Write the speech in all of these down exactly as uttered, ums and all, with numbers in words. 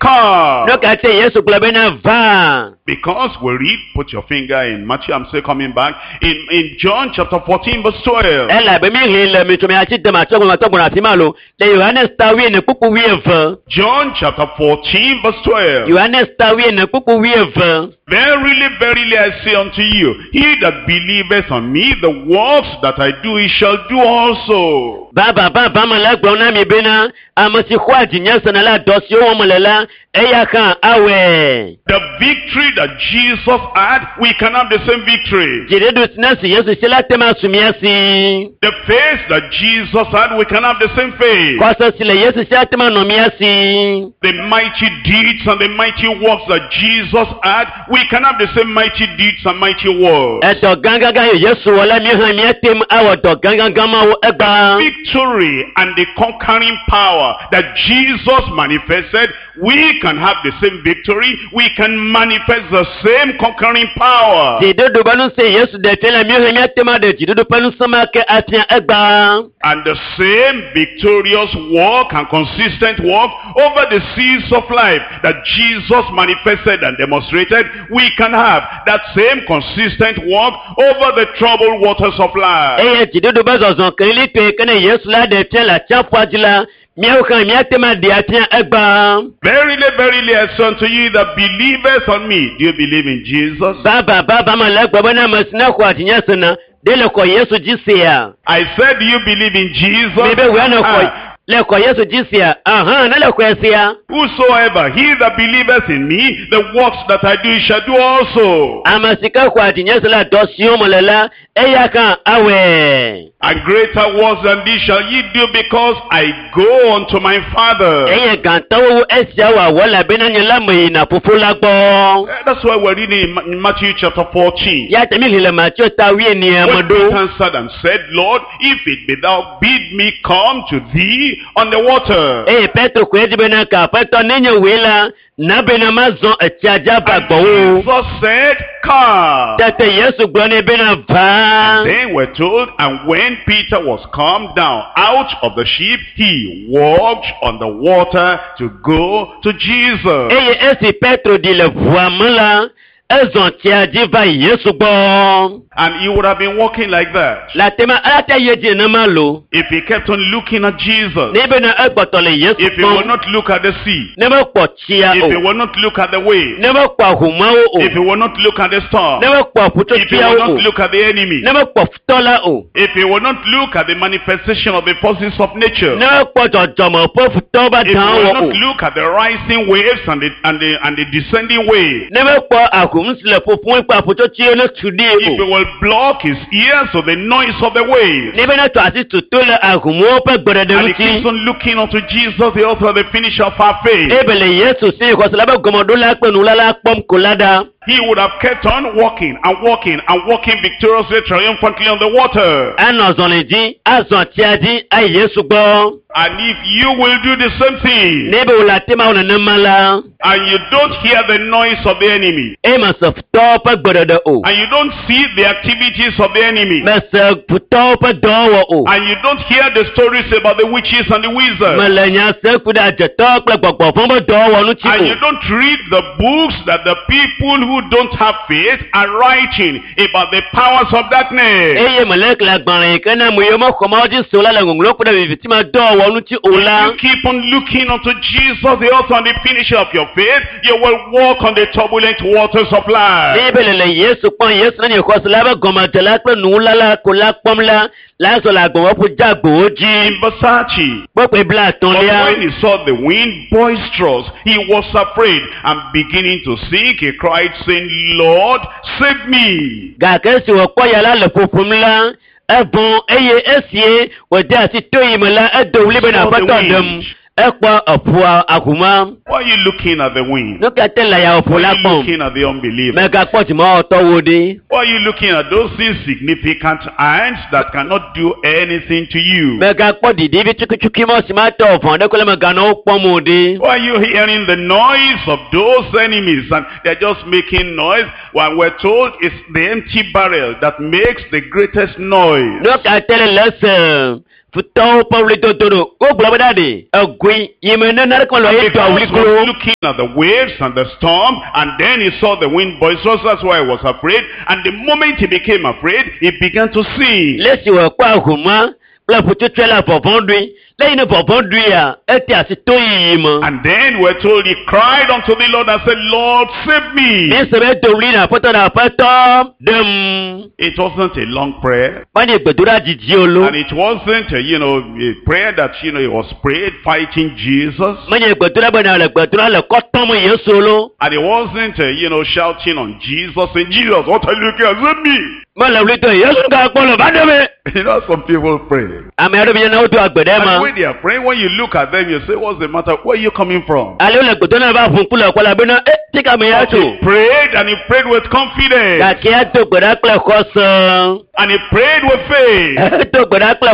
Come. Nu ka te Yesu gblɔ bena va? Because we read, put your finger in Matthew, I'm still coming back, in, in John chapter fourteen, verse twelve. Elabe mi ʋli le mi tso mi atsi dem atsɔ gbɔna tɔ gbɔna afi ma lo le Yohanes ta wuiene kpukpu wuieve. John chapter fourteen, verse twelve. Yohanes ta wuiene kpukpu wuieve. Verily, verily, I say unto you, he that believeth on me, the works that I do, he shall do also. Vavã vavã me le egblɔm na mi bena ame si xɔa dzinye sena la dɔ siwo wɔm le la eya hã awɔe. The victory that Jesus had, we can have the same victory. Dziɖuɖu si ne si Yesu si la te ma su mía si. The faith that Jesus had, we can have the same faith. Xɔse si le Yesu si ate ma nɔ mía si. The mighty deeds and the mighty works that Jesus had, we can have the same mighty deeds and mighty works. Edɔ gãgãgã yi Yesu wɔ la mi hã míate ŋu awɔ dɔ gãgãgã mawo egbea. Victory and the conquering power that Jesus manifested, we can have the same victory. We can manifest the same conquering power. Dziɖuɖu ƒe ŋusẽ Yesu ɖe fia la mi hã míate ŋu aɖe dziɖuɖu ƒe ŋusẽ ma ke afia egbea. And the same victorious walk and consistent walk over the seas of life that Jesus manifested and demonstrated, we can have that same consistent walk over the troubled waters of life. Eye dziɖuɖu ƒe zɔzɔ kelilitɔe ke ne Yesu la ɖe fia le atsiaƒua dzi la, míawo hã míate ŋu aɖe afia egbea. Verily, verily, I say unto you that believeth on me. Do you believe in Jesus? Vavã vavã me le egblɔ bena ame si ne xɔa dzinye sena ɖe le xɔ Yesu dzi sea. I said, do you believe in Jesus? Mi be wòe ne xɔ Ah. le xɔ Yesu dzi sea. Ahã ne le xɔe sea. Whosoever, he that believeth in me, the works that I do, he shall do also. Ame si ke xɔa dzinye se la dɔ siwo me le la eya hã awɔe. And greater works than these shall ye do, because I go unto my Father. Eye gãtɔwo wu esia wòawɔ elabena nye la meyina fofo la gbɔ. Eh, That's why we're reading in Ma- in Matthew chapter fourteen. Ya te mi ʋli le Mateo ta wuienea me When Peter ɖo. answered and said, Lord, if it be thou, bid me come to thee on the water. Eye Petro koe dzi bena ka aƒetɔ nenye wòe la na bena mazɔ etsia dzi ava And gbɔwò. Jesus said, Come. Tete Yesu gblɔ nɛ bena va. Then we're told, and when Peter was come down out of the ship, he walked on the water to go to Jesus. Eye esi Petro ɖi le ʋua me la, ezɔ tsia dzi va Yesu gbɔ. And he would have been walking like that Le ate ma ate yi dzi nenema lo. if he kept on looking at Jesus, Ne bena egbɔtɔ le Yesu if he would kpɔm. not look at the sea, Ne mekpɔ tsia if he o. would not look at the wave, Ne mekpɔ ahumawo o. if he would not look at the storm, Ne mekpɔ if he would ƒutsotsoeawo not o. look at the enemy, Ne mekpɔ futɔ la o. if he would not look at the manifestation of the forces of nature, Ne mekpɔ dzɔdzɔme ƒe futɔwo be if he dãwo would o. not look at the rising waves and the, and the, and the descending waves, Ne mekpɔ ahom si le ƒoƒom kple aƒutsotsoewo ne tu ɖi if he o. will block his ears to the noise of the waves, Ne bena tɔ asi tutu le ahomwo ƒe gbeɖeɖe and he ŋuti. keeps on looking unto Jesus, the author and the finisher of our faith, Ebe le Yesu si xɔse la ƒe gɔmeɖola kple nuwula la kpɔm ko la ɖa. he would have kept on walking and walking and walking victoriously, triumphantly on the water. Anɔ zɔli dzi, azɔ tsia dzi ayi Yesu gbɔ. And if you will do the same thing, Ne be wòle ate ma wɔ nenema la, and you don't hear the noise of the enemy, eye mese futɔwo ƒe gbeɖeɖe o. and you don't see the activities of the enemy, Mese futɔwo ƒe dɔwɔwɔ o. and you don't hear the stories about the witches and the wizards, Mele nya se ku ɖe adzetɔwo kple gbɔgbɔ vɔ̃ ƒe dɔwɔwɔ ŋuti and you o. don't read the books that the people who don't have faith are writing about the powers of darkness. Eye mele xlẽ agbalẽ yi ke ne ame yiwo mexɔ Mawu dzi se o la le ŋɔŋlɔ ku ɖe viviti me dɔwɔwɔ ŋuti o la. You keep on looking unto Jesus, the author and the finisher of your faith, you will walk on the turbulent waters of life. Ne be le le Yesu kpɔm, Yesu ne nye xɔse la ƒe gɔmedela kple nuwula la ko la kpɔm la, la zɔ le agbɔwɔƒu dzeagbowo dzi. In verse thirty, Kpɔkpɔe But blaetɔ̃lia. when he saw the wind boisterous, he was afraid, and beginning to sink, he cried, saying, Lord, save me. Gake esi wòkpɔ ya la le ƒoƒom la, evɔ̃ eye esie wòde asi to yi me la, edo ɣli bena Saw the aƒetɔ ɖem. wind. Ekpɔ eƒua ahuma. Why are you looking at the wind? Nu ka te le ya ƒo Why la are you kpɔm? looking at the unbeliever? Mègakpɔ dzimawɔtɔwo ɖi. Why are you looking at those insignificant ants that cannot do anything to you? Mègakpɔ ɖiɖivi tsukitsuki mɔ si mate vɔ̃ ɖe ko le mèganɔ wo kpɔm o ɖi. Why are you hearing the noise of those enemies and they're just making noise? When we're told it's the empty barrel that makes the greatest noise. Nu ka te le le ese Futɔwo ƒe ɣlidodo ɖo. Wogblɔ be ɖa ɖe egoe yi me ne naneke mele ye Because tɔ he wli klo. was looking at the waves and the storm, and then he saw the wind boisterous, that's why he was afraid. And the moment he became afraid, he began to sink. Le esi wòkpɔ ahoma kple ƒutsotsoe la vɔvɔ̃ ɖui. Le yi ne vɔvɔ̃ ɖuia, ete asi to yiyi me. And then we're told he cried unto the Lord and said, Lord, save me. Mi se be do ɣli na aƒetɔ na aƒetɔ ɖem. It wasn't a long prayer. Menye gbedoɖa didi o lo. And it wasn't, a, you know, a prayer that, you know, he was prayed fighting Jesus. Menye gbedoɖa bena le gbedoɖa le kɔ tɔm Yesu lo. And it wasn't, uh, you know, shouting on Jesus, saying, Jesus, what are you looking at? Save me. Mele ɣli dom Yesu ka kpɔ le va ɖe me. You know, some people pray. Ame aɖewo bi na wodo agbe ɖe And ma. when they are praying, when you look at them, you say, what's the matter? Where are you coming from? Ale wole gbedoɖa va ʋu ŋku le kɔ la bena e tika me ya But tso. he prayed and he prayed with confidence. Gake edo gbe ɖa kple xɔse. And he prayed with faith. Edo gbe ɖa kple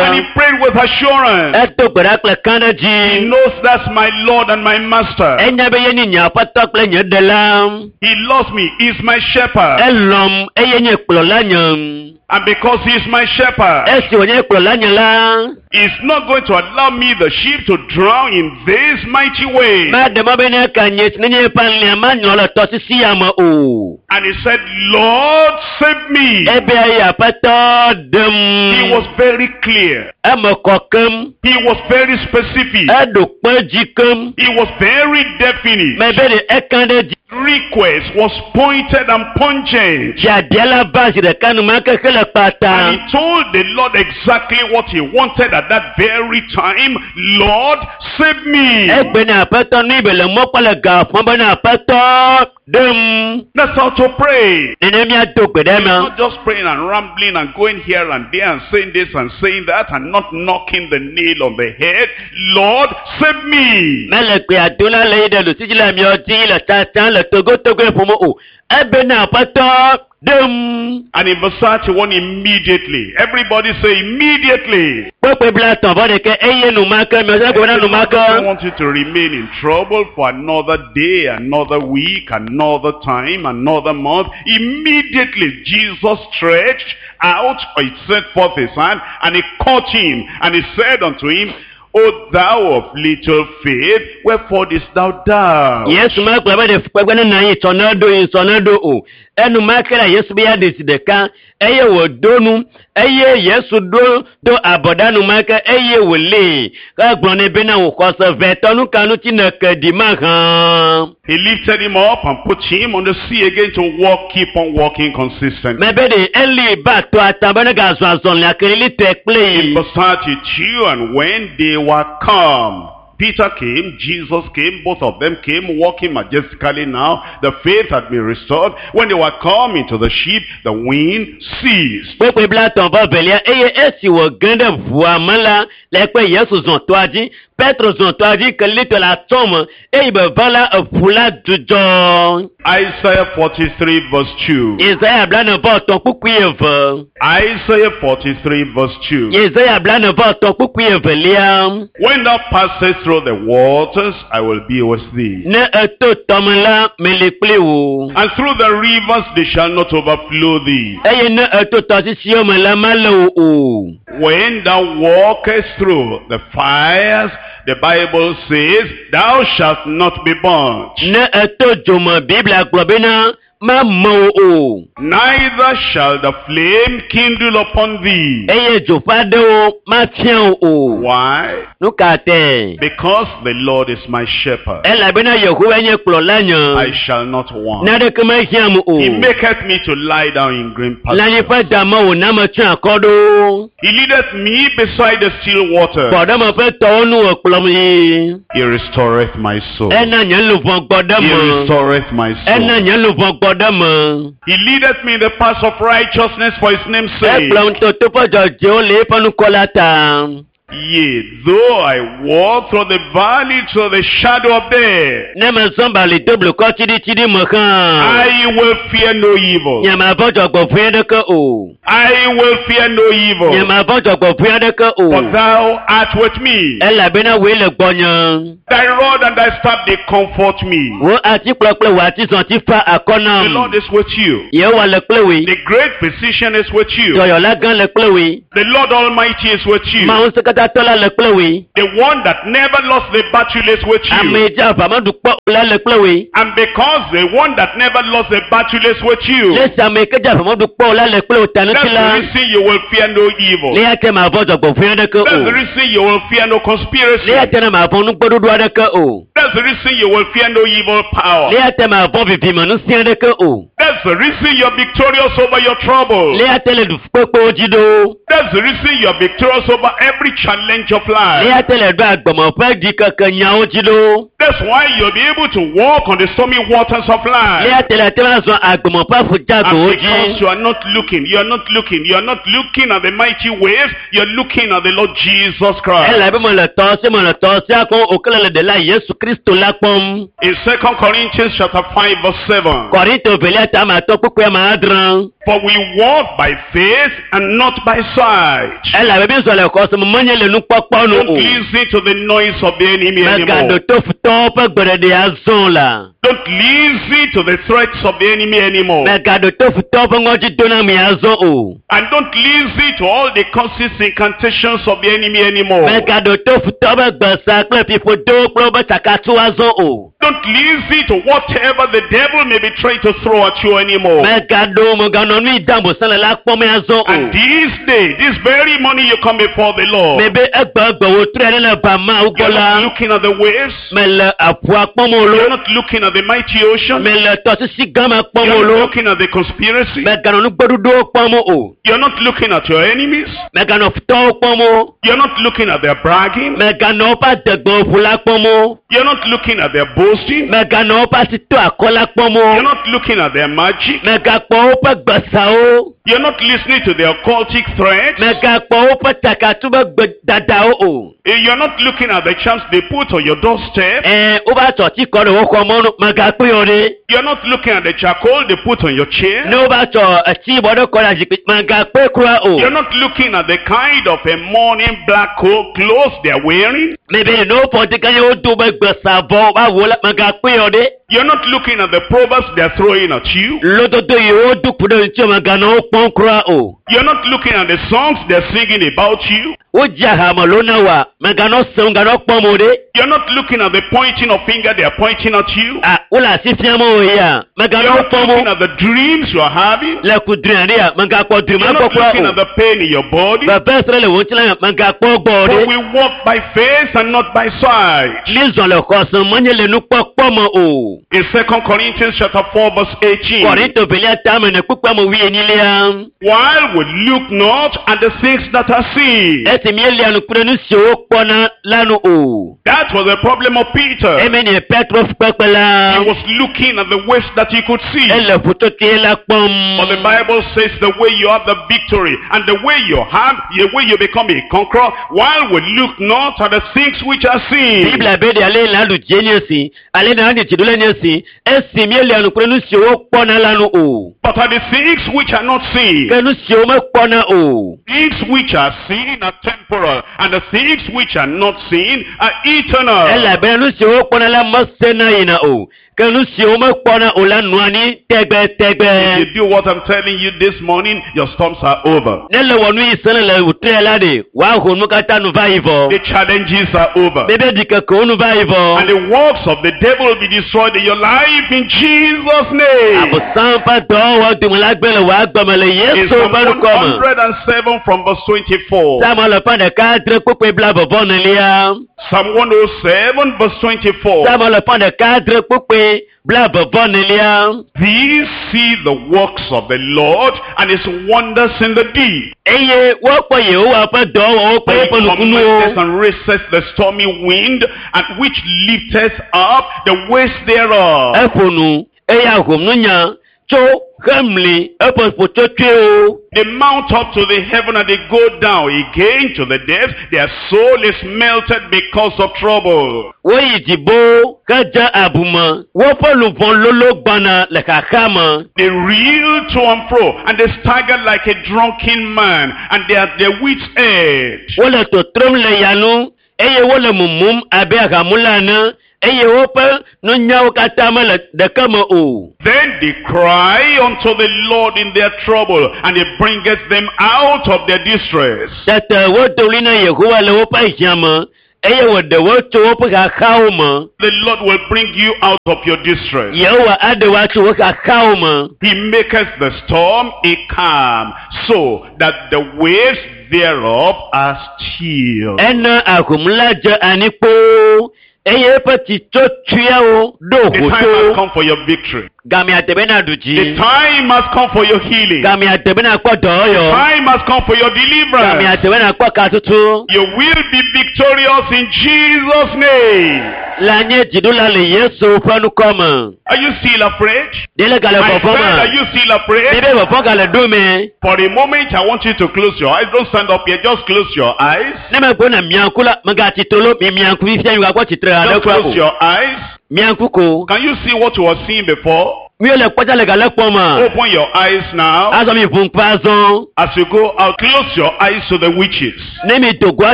And he xɔse. prayed with assurance. Edo gbe ɖa kple He kãɖedzi. knows that's my Lord and my Master. Enya be ye nye nye aƒetɔ kple nye ɖela. He loves me. He's my shepherd. Elɔm eye nye kplɔla nye. And because he's my shepherd, Esi wònye kplɔla nye la, he's not going to allow me, the sheep, to drown in this mighty way. maɖe mɔ be ne ka nye ne nye ƒe alẽa manyrɔ le tɔsisi ya me o. And he said, Lord, save me. Ebe eye aƒetɔ He ɖem. was very clear. Eme kɔ keŋ. He was very specific. Eɖo kpe dzi keŋ. He was very definite. Mebe ɖe ekã ɖe dzi. Request was pointed and pungent. Biabia la va zi ɖeka enumake hele kpata. And he told the Lord exactly what he wanted at that very time. Lord, save me. Egbe na aƒetɔ nu be le mɔ kpɔ le ga fɔm be na aƒetɔ ɖem. That's how to pray. Nene míado gbe ɖe It's me. not just praying and rambling and going here and there and saying this and saying that and not knocking the nail on the head. Lord, save me. Mele gbe adola le yi ɖe lusisi le miɔ dzi le tata le togotogoe ƒome o. Ebe na aƒetɔ ɖem. And in verse thirty-one, immediately. Everybody say immediately. Kpekpe bla tɔn vɔ ɖeke eye numake miɔ dzi gbe na I don't numake. want you to remain in trouble for another day, another week, another time, another month. Immediately, Jesus stretched out, or he sent forth his hand, and he caught him, and he said unto him, O thou of little faith, wherefore didst thou doubt? Yesu ma gblɔ be ɖe kpekpe ne na yi sɔnɛ ɖo yi sɔnɛ ɖo o. Enumake la Yesu be ya ɖe zi ɖeka eye wòdo nu eye Yesu ɖo do abɔɖa numake eye wòlée. Egblɔ nɛ bena wò xɔse vɛtɔ nu ka ŋuti nèke ɖi mahã. He lifted him up and put him on the sea again to walk, keep on walking consistently. Mebe ɖe eli ba tɔ ata be ne gazɔ azɔlia kelili tɔe kple In yi. verse thirty-two, and when they were come, Peter came, Jesus came, both of them came walking majestically now. The faith had been restored. When they were come into the ship, the wind ceased. Kpekpe blatɔ̃ vɔ velia eye esi wòge ɖe ʋua me la le kpe Yesu zɔ tɔa dzi Petro zɔ tɔa dzi kelili tɔ le atɔ me eye be va la eʋu la dzudzɔ. Isaiah forty-three verse two. Yesaya blane vɔ etɔ̃ kpukpui eve. Isaiah forty-three verse two. Yesaya blane vɔ etɔ̃ kpukpui evelia. When thou passest through the waters, I will be with thee. Ne eto tɔme la, meli kpli wò. And through the rivers they shall not overflow thee. Eye ne eto tɔsisiwo me la, mele wò o. When thou walkest through the fires, the Bible says, thou shalt not be burnt. Ne eto dzo me, Biblia gblɔ bena mame wò o. Neither shall the flame kindle upon thee. Eye dzo ƒe aɖewo mafia wò o. Why? Nu ka tae? Because the Lord is my shepherd. Elabena Yehowa nye kplɔla I nye. shall not want. Naneke mehiãm o. He maketh me to lie down in green Le anyi pastures. ƒe dame wòna metsyɔ akɔ ɖo. He leadeth me beside the still water. Gbɔɖeme ƒe tɔwo nu wòkplɔm yi. He restoreth my soul. Ena nye luʋɔ gbɔ ɖe He me. restoreth my Ena soul. nye luʋɔ gbɔ ɖe me. He leadeth me in the paths of righteousness for his name's sake. Ekplɔm to toƒe dzɔdzɔewo le eƒe ŋkɔ la ta. Yea, though I walk through the valley to the shadow of death, Ne mezɔ bali do blukɔ tsiɖitsiɖi me hã. I will fear no evil. Nye mavɔ̃ dzɔgbevɔ̃e aɖeke o. I will fear no Nye evil. mavɔ̃ dzɔgbevɔ̃e aɖeke o. For thou art with me. Elabena wòe le gbɔnye. Thy rod and thy staff, they comfort me. Wò atikplɔ kple wò atizɔti fa akɔ The nam. Lord is with you. Yehowa le kple wòe. The great physician is with you. Dɔyɔla gã le kple wòe. The Lord Almighty is with you. Mawu ŋusẽkatãtɔ la le kple wòe. The one that never lost the battle is with you. Ame yi dzi aʋa meɖu kpɔ o la le kple wòe. And because the one that never lost the battle is with you, Le esi ame yi ke dzi aʋa meɖu kpɔ o la le kple wò ta that's ŋuti the la. reason you will fear no evil. Le ya te mavɔ̃ dzɔgbevɔ̃e aɖeke That's the o. reason you will fear no conspiracy. Le ya te na mavɔ̃ nugbeɖoɖo aɖeke o. That's the reason you will fear no evil power. Le ya te mavɔ̃ vivime ŋusẽ aɖeke o. That's the reason you're victorious over your trouble. Le ya te le ɖufukpekpewo dzi ɖo. That's the reason you're victorious over every challenge of Le life. ya te le ɖo agbeme ƒe ɖikeke nyawo dzi ɖo. That's why you'll be able to walk on the stormy waters of Le life. ya te le te va zɔ agbeme ƒe And aƒudzagowo because dzi. you are not looking, you are not looking, you are not looking at the mighty waves, you're looking at the Lord Jesus Christ. Elabe mele tɔ si mele tɔ sia kpɔm o ke le ɖela Yesu Kristo la kpɔm. In Second Corinthians chapter five verse seven. Kɔrinto velia ta ame atɔ̃ kpukpui ame adre. For we walk by faith and not by sight. Elabe mi zɔ le xɔse me menye le nukpɔkpɔ nu Don't o. listen to the noise of the enemy Megaɖo anymore. to futɔwo ƒe gbeɖeɖe azɔ o la. Don't listen to the threats of the enemy anymore. Megaɖo to futɔwo ƒe ŋɔdzidoname azɔ o. And don't listen to all the curses, incantations of the enemy anymore. Megaɖo to futɔwo ƒe gbesa kple fiƒodowo kple woƒe tsakatsu azɔ o. Don't listen to whatever the devil may be trying to throw at you anymore. Megaɖo meganɔ nu yi dam bosã le la kpɔm azɔ o. And this day, this very morning you come before the Lord. Mebe egbe egbe wòtrɔe ɖe le ba Mawu gbɔ You're la. not looking at the waves. Mele aƒua kpɔm o You're lo. not looking at the mighty ocean. Mele tɔsisi gã me kpɔm o You're not lo. looking at the conspiracy. Meganɔ nugbeɖuɖuwo kpɔm o. You're not looking at your enemies. Meganɔ futɔwo kpɔm o. You're not looking at their bragging. Meganɔ woƒe adegbewo ƒu la kpɔm o. You're not looking at their boasting. Meganɔ woƒe asito akɔ la kpɔm You're o. not looking at their magic. Megakpɔ woƒe gbesawo. You're not listening to their occultic threats. Megakpɔ woƒe tsakatu be gbedadawo o. You're not looking at the charms they put on your doorstep. Ɛɛ wova tsɔ tsi kɔ ɖe wo xɔ mɔnu megakpɔe o ɖe. You're not looking at the charcoal they put on your chair. Ne wova tsɔ etsi yibɔ ɖe kɔ ɖe zikpui megakpɔe kura o. You're not looking at the kind of a morning black coat clothes they're wearing. Mebe ne wofɔ ŋdi kanya wodo be gbesavɔ va wo la megakpɔe o ɖe. You're not looking at the proverbs they're throwing at you. Lododo yi wodo ku ɖe ŋuti meganɔ wo kpɔm kura o. You're not looking at the songs they're singing about you. Wodzi ahame lo na wa meganɔ sem ganɔ kpɔm o ɖe. You're not looking at the pointing of finger they're pointing at you. A wole asi fiam o ya You're meganɔ wo not kpɔm looking o. at the dreams you're having. Le kudri aɖe ya megakpɔ dri You're ma not gbɔ kura looking o. at the pain in your body. Veve sre le wo ŋuti la megakpɔ gbɔ o For ɖe. we walk by faith and not by sight. Mi zɔ le xɔse menye le nukpɔkpɔ me o. In Second Corinthians chapter four verse eighteen. Kɔrinto velia tame ne kpukpua me wuienyilia. While we look not at the things that are seen. Esi míelia nu kple nu siwo wokpɔna la nu o. That was the problem of Peter. Eme nye Petro kpekpe la. He was looking at the waves that he could see. Ele ƒutsotsoe la kpɔm. But the Bible says the way you have the victory and the way you have, the way you become a conqueror, while we look not at the things which are seen. Biblia be ɖe ale la ɖu dzi nye si, ale na ɖu dzi ɖo le nye si, esi míelia nu kple nu siwo wokpɔna la nu o. But at the things which are not seen. Ke nu siwo mekpɔna o. Things which are seen are temporal, and the things which are not seen are eternal. Elabena nu siwo wokpɔna la mesena yina o. Ke nu siwo mekpɔna o la nɔa anyi tɛgbɛtɛgbɛ. If you do what I'm telling you this morning, your storms are over. Ne le wɔ nu yi sene le wòtrɛ la ɖe, wòaho nu katã nu va yi vɔ. The challenges are over. Bebe ɖikekewo nu va yi vɔ. And the works of the devil will be destroyed in your life in Jesus' name. Abosam ƒe dɔwɔwɔ dome la gblẽ le wò agbeme le In Yesu Psalm ƒe ŋkɔ me. one hundred seven from verse twenty-four. Psalm alafa ɖeka adre kpukpui blaeve vɔ enelia. Psalm one hundred seven verse twenty-four. Psalm alafa ɖeka adre kpukpui blaeve vɔ enelia. These see the works of the Lord and his wonders in the deep. Eye wokpɔ Yehowa ƒe dɔwɔwɔwo For kple he eƒe commandeth nukunuwo. and raiseth the stormy wind, and which lifteth up the waste thereof. Eƒo nu eye ahom nu nya tso hemli eƒe ƒotsotsoewo. They mount up to the heaven and they go down again to the depths. Their soul is melted because of trouble. Woyi dzibo hedze abume. Woƒe luʋɔ lolo gbɔna le xaxa me. They reel to and fro and they stagger like a drunken man and they are at their wits' end. Wole totrom le yanu eye wole mumum abe ahamula ene eye woƒe nunyawo katã mele ɖeke me o. Then they cry unto the Lord in their trouble and he bringeth them out of their distress. Tete wodo ɣli na Yehowa le woƒe hiã me eye wòɖe wo tso woƒe xaxawo me. The Lord will bring you out of your distress. Yehowa aɖe wo tso woƒe xaxawo me. He maketh the storm a calm, so that the waves thereof are still. Ena ahom la dze anyi kpoo eye eƒe tsitsotsoeawo ɖo The time has hoto. come for your victory. Gamea de bena ɖu The dzi. time has come for your healing. Gamea de bena kpɔ dɔyɔ. Time has come for your deliverance. Gamea de bena kpɔ katutu. You will be victorious in Jesus' name. Le nye dziɖula le Yesu ƒe ŋkɔ me. Are you still afraid? Ɖe le gale My vɔvɔ friend, are me. you still afraid? Ɖe be vɔvɔ gale ɖo me. For a moment, I want you to close your eyes. Don't stand up here. Just close your eyes. Ne megblɔ na miaŋku la, megatsitre lo, mi miaŋku fifia mi gakpɔ tsitre haɖe Just kura close o. your eyes. Miaŋku ko. Can you see what you were seeing before? Mi le kpɔtsa le gale kpɔm ma. Open your eyes now. Azɔ mi ʋu ŋku azɔ. As you go out, close your eyes to the witches. Ne mi do goa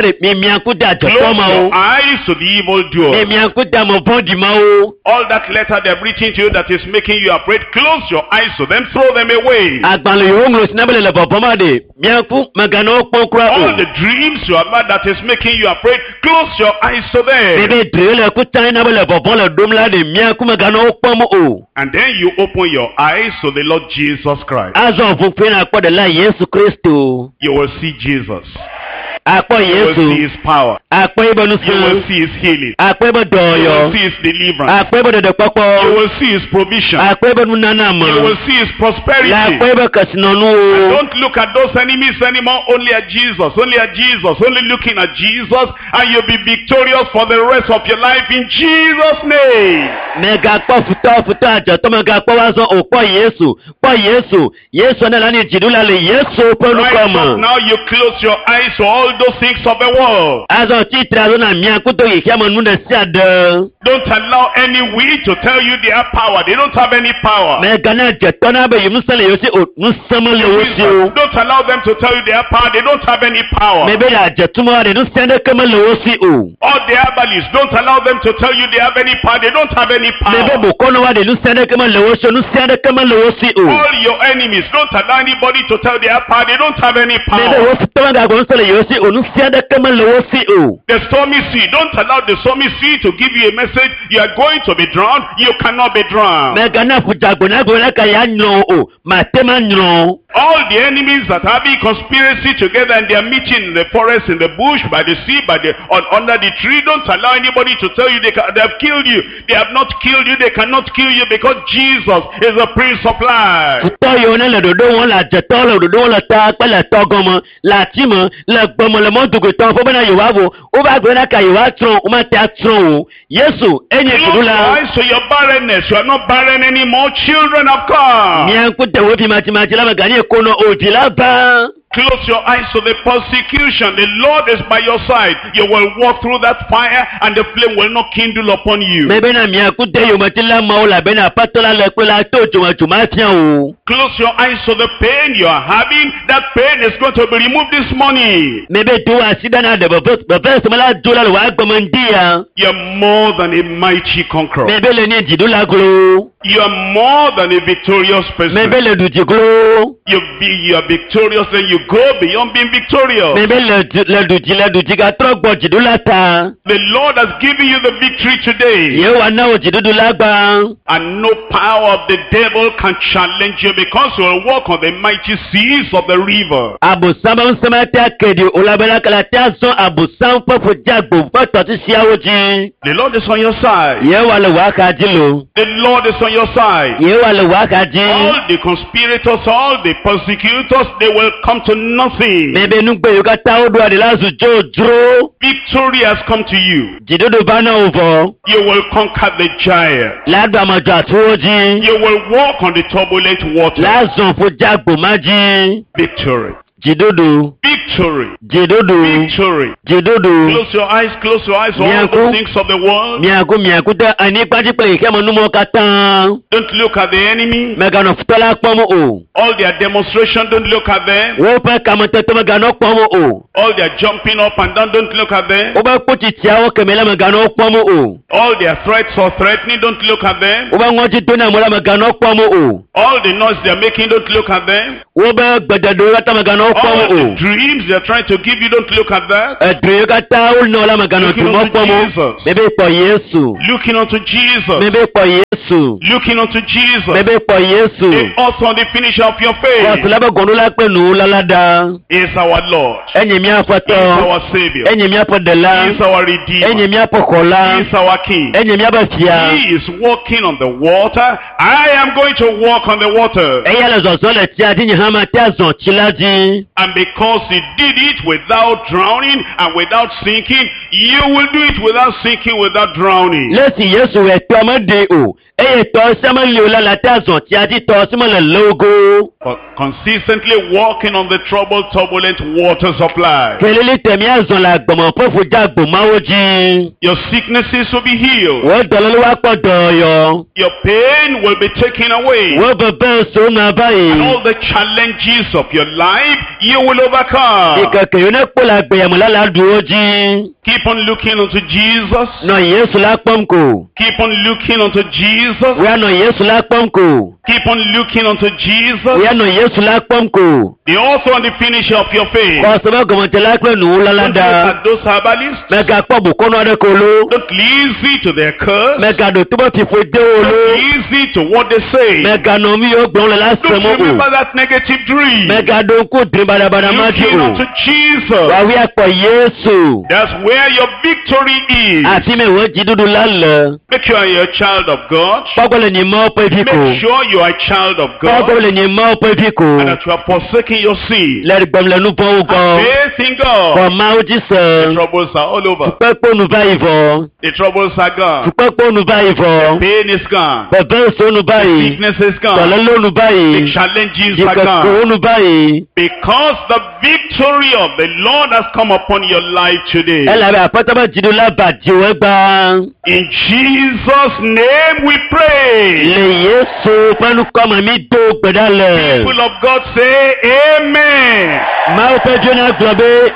ɖe, mi miaŋku de adzɔtɔ Close ma wo. your eyes to the Mi evildoers. miaŋku de ame vɔ̃ɖi ma wo. All that letter they've written to you that is making you afraid, close your eyes to them, throw them away. Agbalẽ yiwo ŋlɔ si na be le le vɔvɔm ma ɖe, miaŋku megana wo kpɔm kura o. All the dreams you have had that is making you afraid, close your eyes to them. Bebe dre le kuta na be le vɔvɔ le ɖom la ɖe, miaŋku megana wo kpɔm o. And then you open your eyes to the Lord Jesus Christ. Azɔ ʋu ƒe na kpɔ ɖela Yesu Kristo. You will see Jesus. Akpɔ You will see Yesu. his power. Akpɔ ebe You will nusẽ. see his healing. Akpɔ ebe You will dɔyɔ. see his deliverance. Akpɔ ebe You ɖeɖekpɔkpɔ. will see his provision. Akpɔ ebe nunana You me. will see his prosperity. Le akpɔ ebe kesinɔnuwo. Don't look at those enemies anymore, only at Jesus, only at Jesus, only looking at Jesus, and you'll be victorious for the rest of your life in Jesus' name. Megakpɔ futɔ futɔ adzɔtɔ megakpɔ wa zɔ o kpɔ Yesu kpɔ Yesu Yesu ne la ni dziɖula le Yesu ƒe Right ŋkɔ up me. now, you close your eyes to all those things of the world. Azɔ tsitre azɔ na mia kudo xexea me nu ɖe sia ɖe. Don't allow any witch to tell you they have power. They don't have any power. Megana dzetɔ na be ŋusẽ le yewo si o ŋusẽ mele wo si o. Don't allow them to tell you they have power. They don't have any power. Mebe le adzetumɔ ɖe ŋusẽ ɖeke mele wo si o. All the herbalists, don't allow them to tell you they have any power. They don't have any Mebe power. bokɔnɔ wa ɖe ŋusẽ ɖeke mele wo si o ŋusẽ ɖeke mele wo si o. All your enemies, don't allow anybody to tell they have power. They don't have any Mebe power. wo futɔ megagblɔ ŋusẽ le yewo si o ŋusẽ ɖeke mele wo si o. The stormy sea, don't allow the stormy sea to give you a message. You are going to be drowned. You cannot be drowned. Megana ƒudzagbo na gblɔ ɖeka ya nyrɔ o mate ma nyrɔ o. All the enemies that are having conspiracy together and they are meeting in the forest, in the bush, by the sea, by the on, under the tree, don't allow anybody to tell you they, ca- they have killed you. They have not killed you. They cannot kill you because Jesus is the Prince of Life. Futɔ yiwo ne le ɖoɖo wɔm le adzetɔ le ɖoɖo wɔm le ta kple le tɔ gɔme le ati me le gbeme le mɔdugotɔ ƒe bena yewoavo wova gblɔ na ka yewoatrɔ womate atrɔ o Yesu enye Close your dziɖula. eyes to your barrenness. You are not barren anymore. Children have come. Mia ŋku de wo vi madzimadzi la meganye konɔ o vi la va. Close your eyes to the persecution. The Lord is by your side. You will walk through that fire and the flame will not kindle upon you. Mebena mia ŋku de yometila mawo elabena aƒetɔ la le kple la to dzomadzoma fia o. Close your eyes to the pain you are having. That pain is going to be removed this morning. Mebe do asi ɖa na ɖe veve veve seme la do la le wòa gbeme ŋdi ya. You are more than a mighty conqueror. Mebe le nye dziɖula glo. You are more than a victorious person. Mebe le ɖu dzi glo. You be you are victorious, then you go beyond being victorious. Mebe le du le ɖu dzi le ɖu dzi gatrɔ gbɔ dziɖula ta. The Lord has given you the victory today. Yehowa na wò dziɖuɖu la gbã. And no power of the devil can challenge you because you will walk on the mighty seas of the river. Abosam ƒe ŋusẽ mate ake ɖi o elabena kala te azɔ abosam ƒe ƒodzagbo ƒe tɔsisiawo dzi. The Lord is on your side. Yehowa le wò axa dzi lo. The Lord is on on your side. Yehowa le wò axa dzi. All the conspirators, all the persecutors, they will come to nothing. Mebe nugbe yiwo katã woɖo aɖi la zu dzodzro. Victory has come to you. Dziɖuɖu va na wò vɔ. You will conquer the giant. La ɖu ame dzɔatsuwo dzi. You will walk on the turbulent water. La zɔn ƒu dzeagbo ma dzi. Victory. Dziɖuɖu. Victory. Dziɖuɖu. Victory. Dziɖuɖu. Close your eyes, close your eyes, all the Miaku. things of the world. Miaku miaku ɖe anyigba dzi kple xexeme numɔwo katã. Don't look at the enemy. Mèganɔ futɔ la kpɔm o. All their demonstration, don't look at them. Woƒe kametete meganɔ kpɔm o. All their jumping up and down, don't look at them. Woƒe kpotsitsiawo kemɛ la meganɔ wo kpɔm o. All their threats or threatening, don't look at them. Woƒe ŋɔdzidoname la meganɔ kpɔm o. All the noise they're making, don't look at them. Woƒe gbeɖeɖewo katã meganɔ wo kpɔm All o. the dreams they're trying to give you, don't look at that. Edro yiwo katã wonɔ la meganɔ Looking dromɔ unto kpɔm o. Jesus. Mebe kpɔ Yesu. Looking unto Jesus. Mebe kpɔ Yesu. Looking unto Jesus. Mebe kpɔ Yesu. The author and the finisher of your faith Kɔsila be gɔnɖola kple nuwula da. is our Lord. Enye mía He is Aƒetɔ. our Savior. Enye míaƒe He Ɖela. is our Enye Redeemer. míaƒe Xɔla. He is our King. Enye míaƒe Fia. He is walking on the water. I am going to walk on the water. Eya le zɔzɔ le tsia dzi nye hã mate azɔ tsi la dzi. And because he did it without drowning and without sinking, you will do it without sinking, without drowning. Le esi Yesu wɔ tɔ meɖe o eye tɔ sia meli o la la te azɔ tsia dzi tɔ si mele logo. But consistently walking on the troubled, turbulent waters of life. Kelili te míazɔ le agbɔmɔ ƒe ƒudzagbomawo dzi. Your sicknesses will be healed. Wò dɔléle woakpɔ dɔyɔ. Your pain will be taken away. Wò veve sonu ava And yi. all the challenges of your life, you will overcome. Ìkẹ̀kẹ̀ yìí ne kpɔ le agbeyame la la ɖu wo dzi. Keep on looking unto Jesus. Nɔ Yesu la kpɔm ko. Keep on looking unto Jesus. Wòya nɔ Yesu la kpɔm ko. Keep on looking unto Jesus. Wòya nɔ Yesu la kpɔm ko. The author and the finisher of your faith. Kɔsɔbɛ gɔmɔtela kple nuwula la Don't look ɖa. at those herbalists. Mègakpɔ bokɔnɔ aɖe ko lo. Don't listen to their curse. Mègaɖo to be fiƒo de wo lo. Don't listen to what they say. Mèganɔ nu yiwo gblɔm le la Don't sem o. remember that negative dream. Mègaɖo ŋku dri baɖabaɖa ma dzi Looking o. unto Jesus. Wàwí akpɔ Yesu. That's where your victory is. Afi me wò dziɖuɖu la le. Make sure you're a child of God. Kpɔgbɔ le nye Mawu ƒe vi ko. Make sure you are a child of Kpɔgbɔ God. le nye Mawu ƒe vi ko. And that you are forsaking your sin. Le gbem le nu vɔ̃wo Have gbɔ. faith in God. Xɔ Mawu dzi The se. troubles are all over. Fukpekpe nu va yi vɔ. The troubles are gone. Fukpekpe nu va yi vɔ. Pain is gone. Veve so nu va yi. Sickness is gone. Dɔléle nu va The yi. challenges are Dzikekewo gone. nu va yi. Because the victory of the Lord has come upon your life today. Elabe Aƒetɔ be dziɖula va dziwò egbea. In Jesus' name we pray. Le Yesu ƒe ŋkɔme mi do gbe ɖa le. People of God say amen. Mawu ƒe dzo na gblɔ be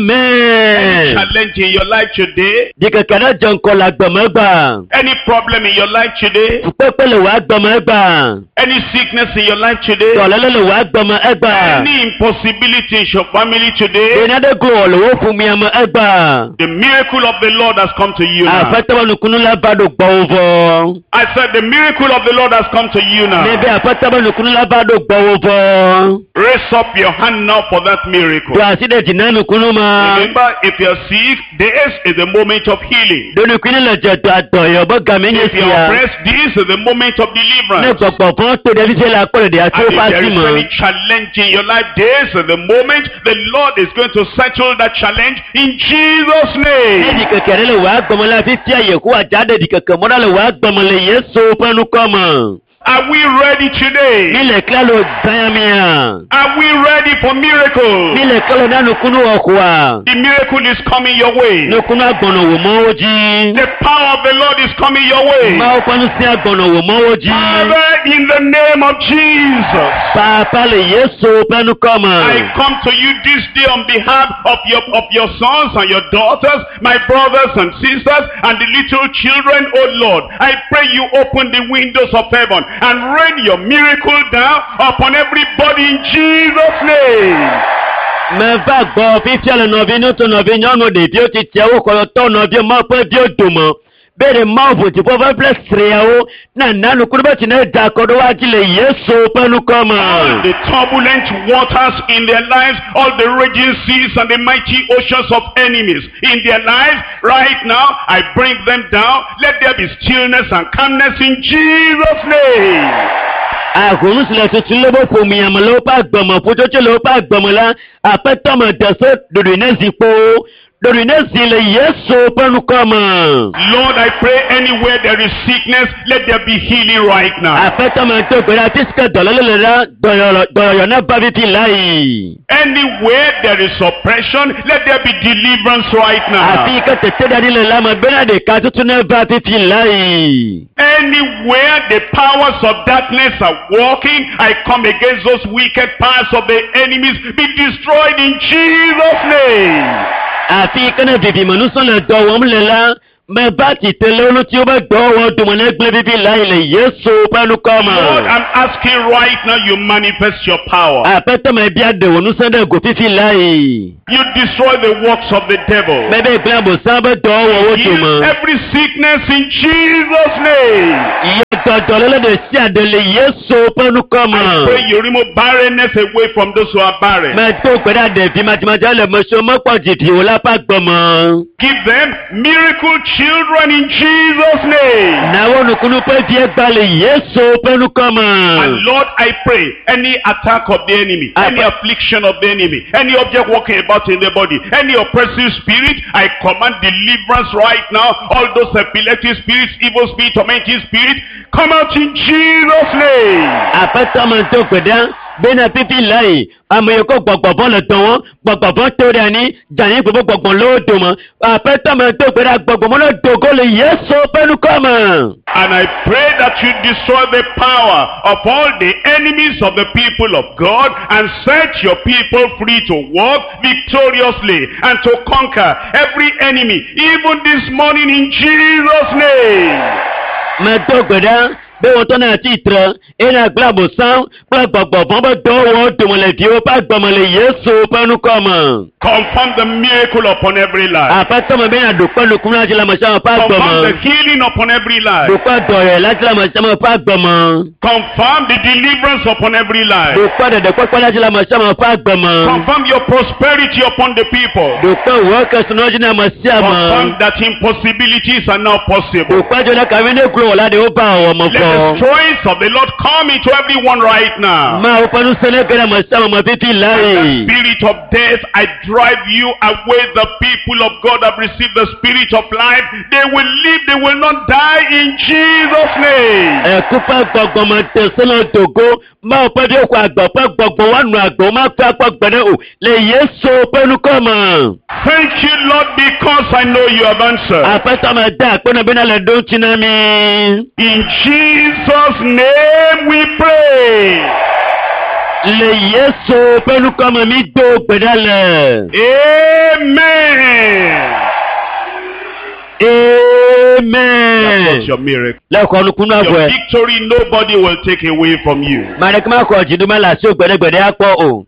amen. Challenge in your life today. Ɖikeke ne dze ŋkɔ le agbeme gbã. Any problem in your life today. Fukpekpe le wò agbeme egbã. Any sickness in your life today. Dɔléle le wò agbeme egbã. Any impossibility in your family today. Ɖe nane go le wò ƒomea me egbã. The miracle of the Lord has come to you now. Aƒetɔ be nukunu la va ɖo gbɔwò vɔ. I said the miracle of the Lord has come to you now. Nebe Aƒetɔ be nukunu la va ɖo gbɔwò vɔ. Raise up your hand now for that miracle. Do asi ɖe dzi na nukunu ma. Remember, if you're sick, this is the moment of healing. Ɖo nukunu le dze do adɔyɔ be game nye If you're sia. oppressed, this is the moment of Ne deliverance. gbɔgbɔ vɔ̃ to ɖevi si le akpɔ ɖeɖe And atso if eƒe there asi is me. any challenge in your life, this is the moment the Lord is going to settle that challenge in Jesus' Ne name. ɖikeke ɖe le wò agbeme la fifia Yehowa dza ɖe ɖikeke mɔ ɖa le wò agbeme le Yesu ƒe ŋkɔ me. Are we ready today? Mi le klalo gbãmia. Are we ready for miracles? Mi le klalo na nukunu wɔxɔa. The miracle is coming your way. Nukunu agbɔnɔ wò mɔwo dzi. The power of the Lord is coming your way. Mawu ƒe ŋusẽ agbɔnɔ wò mɔwo dzi. Father, in the name of Jesus, Papa le Yesu ƒe ŋkɔ me. I come to you this day on behalf of your, of your sons and your daughters, my brothers and sisters, and the little children, O Lord. I pray you open the windows of heaven and rain your miracle down upon everybody in Jesus' name. Meva gbɔ fifia le nɔvi ŋutsu nɔvi nyɔnu ɖeviwo tsitsiawo kɔlɔtɔ nɔvi Mawu ƒe viwo dome. Be ɖe Mawu ʋu dziƒo va ƒle sriawo na nanu kuru be tsi ne da kɔ ɖo woadzi le Yesu ƒe ŋkɔ me. All the turbulent waters in their lives, all the raging seas and the mighty oceans of enemies in their lives, right now, I bring them down. Let there be stillness and calmness in Jesus' name. Ahom si le tutum le woƒe ƒomea me le woƒe agbeme, ƒutsotso le woƒe agbeme la, aƒetɔ me de se ɖoɖoe ne zi kpo, ɖoɖoe ne zi le Yesu ƒe ŋkɔ me. Lord, I pray anywhere there is sickness, let there be healing right now. Aƒetɔ me do gbe ɖa afi si ke dɔléle le la, dɔyɔyɔ dɔyɔyɔ ne va fifi la yi. Anywhere there is oppression, let there be deliverance right Afi now. yi ke teteɖeanyi le la me bena ɖeka tutu ne va fifi la yi. Anywhere the powers of darkness are working, I come against those wicked powers of the enemies. Be destroyed in Jesus' name. Afi yi ke ne vivimenusɔ le dɔ wɔm le la, meva tsitre le wo ŋuti wobe dɔwɔwɔ dome ne gblẽ fifi la yi le Yesu ƒe ŋkɔ me. Lord, I'm asking right now you manifest your power. Aƒetɔ me bia ɖe wò ŋusẽ ɖe go fifi la yi. You destroy the works of the devil. Mebe gblẽ abosam be dɔwɔwɔwo Heal dome. every sickness in Jesus' name. Yɔ dɔ dɔléle ɖe sia ɖe le Yesu ƒe ŋkɔ me. I pray you remove barrenness away from those who are barren. Medo gbe ɖa ɖevi madzmadza le ame siwo mekpɔ dzivi o la ƒe agbe me. Give them miracle children in Jesus' name. Na wo nukunu ƒe vie gba le Yesu ƒe ŋkɔ me. And Lord, I pray any attack of the enemy, I any pray- affliction of the enemy, any object walking about in the body, any oppressive spirit, I command deliverance right now. All those epileptic spirits, evil spirit, tormenting spirit, come out in Jesus' name. Aƒetɔ me do gbe ɖa bena fifi la yi ame yiwo ke gbɔgbɔvɔ le dɔ wɔm, gbɔgbɔvɔ to ɖe anyi, dze anyi gbogbo gbɔgbɔ le wo dome. Aƒetɔ me do gbe ɖa gbɔgbɔmɔ ne do go le Yesu ƒe ŋkɔ me. And I pray that you destroy the power of all the enemies of the people of God and set your people free to walk victoriously and to conquer every enemy, even this morning in Jesus' name. Medo gbe ɖa be wotɔ na tsitre eye nagblẽ abosam kple gbɔgbɔvɔ be dɔwɔwɔ dome le viwo ƒe agbe me le Yesu ƒe ŋkɔ me. Confirm the miracle upon every life. Aƒetɔ me bena ɖo kpe nukunu la dzi le ame sia ame ƒe agbe Confirm me. the healing upon every life. Ɖo kpe dɔyɔyɔ la dzi le ame sia ame ƒe agbe me. Confirm the deliverance upon every life. Ɖo kpe ɖeɖekpɔkpɔ la dzi le ame sia ame ƒe agbe me. Confirm your prosperity upon the people. Ɖo kpe wò kesinɔ dzi na ame sia ame. Confirm that impossibilities are now possible. Ɖo kpe dzo ɖe kavi ne glo wò la ɖe woba wɔ me Let the vɔ. strength of the Lord come into everyone right now. Mawu ƒe ŋusẽ ne ge ɖe ame sia ame me fifi la The yi. spirit of death, I drive you away. The people of God have received the spirit of life. They will live, they will not die in Jesus' name. Ẹ̀kú ƒe gbɔgbɔme te se le dogo Mawu ƒe viwo xɔ agbe ƒe gbɔgbɔ woanɔ agbe womate akpɔ gbe ɖe o le Yesu ƒe ŋkɔ me. Thank you, Lord, because I know you have answered. Aƒetɔ me da akpe na bena le ɖo ŋuti na mi. In Jesus' name we pray. Le Yesu ƒe ŋkɔ me mi do gbe ɖa le. Amen. Amen. That's your miracle. Le xɔ nukunu Your avɔe. victory nobody will take away from you. Ame aɖeke maxɔ dziɖuɖu le asiwò gbeɖegbeɖe akpɔ o.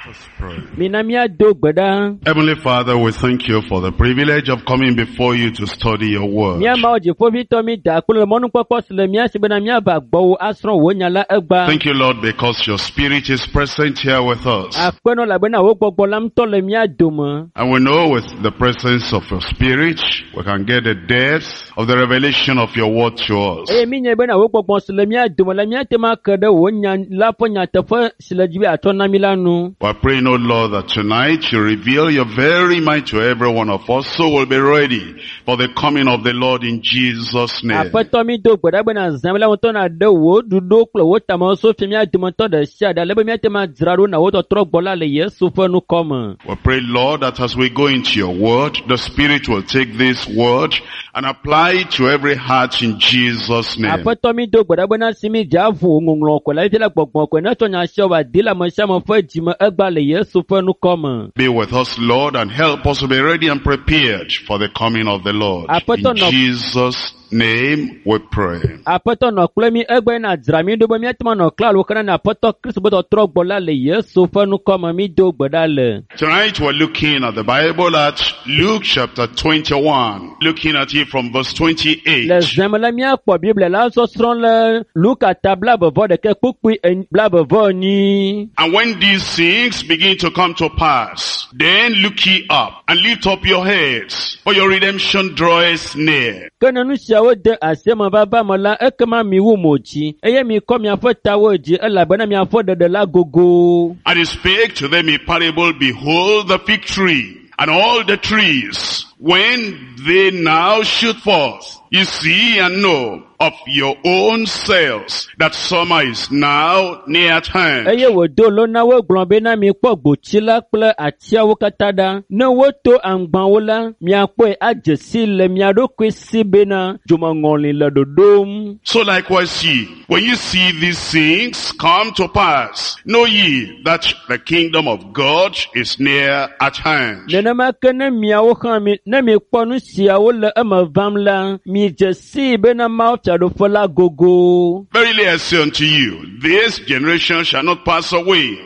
Let us pray. Mina míado gbe ɖa. Heavenly Father, we thank you for the privilege of coming before you to study your word. Mía Mawu dziƒoʋĩtɔ mi da akpe le mɔnukpɔkpɔ si le mía si bena míava gbɔwò asrɔ̃ wò nya la egbea. Thank you, Lord, because your spirit is present here with us. Akpenɔ elabena wò gbɔgbɔ la ŋutɔ le mía dome. And we know with the presence of your spirit, we can get the depth of the revelation of your word to us. Eye mi nya bena wò gbɔgbɔ si le mía dome la míate ŋu ake ɖe wò nya la ƒe nyateƒe si le dzi be atsɔ na mí la nu. We are praying, O Lord, that tonight you reveal your very mind to every one of us so we'll be ready for the coming of the Lord in Jesus' name. Aƒetɔ mi do gbe ɖa bena zã la ŋutɔ naɖe wò ɖoɖo kple wò tamewo fia mía dometɔ ɖe sia ɖe ale be míate ŋu adzra ɖo na wò tɔtrɔ gbɔ la le Yesu ƒe ŋkɔ me. We pray, Lord, that as we go into your word, the Spirit will take this word and apply it to every heart in Jesus' name. Aƒetɔ mi do gbe ɖa bena si mi dze avu ŋɔŋlɔ kɔe la fifia la gbɔgbɔ kɔe netsɔ nya sia wòadi le ame sia ame ƒe dzime egbea le Yesu ƒe ŋkɔ me. Be with us, Lord, and help us to be ready and prepared for the coming of the Lord. Aƒetɔ In nɔ- Jesus' name we pray. Aƒetɔ nɔ kple mi egbe na dzra mi ɖo be míate ŋu anɔ klalo xena na Aƒetɔ Kristo be tɔtrɔ gbɔ la le Yesu ƒe ŋkɔ me mi do gbe ɖa le. Tonight we're looking at the Bible at Luke chapter twenty-one, looking at it from verse Le twenty-eight. zãme la míakpɔ Biblia la sɔsrɔ̃ le Luka ta blaeve vɔ ɖekɛ kpukpui en- blaeve vɔ enyi. And when these things begin to come to pass, then look ye up and lift up your heads, for your redemption draweth near. Ke ne nu siawo de asi eme vava me la, ekema miwu mo dzi eye mikɔ miaƒe tawo dzi elabena miaƒe ɖeɖe la gogo. And he spake to them a parable, behold the fig tree and all the trees, when they now shoot forth, ye see and know of your own selves that summer is now near at hand. Eye wòdo lo na wo gblɔ bena mikpɔ gboti la kple atiawo katã ɖa. Ne woto aŋgbawo la, miakpɔe adze si le mia ɖokui si bena dzomeŋɔli le ɖoɖom. So likewise ye, when you see these things come to pass, know ye that the kingdom of God is near at hand. Nenema ke ne miawo hã mi, ne mikpɔ nu siawo le eme vam la, midze sii bena Mawu fiaɖuƒe la gogo. Verily I say unto you, this generation shall not pass away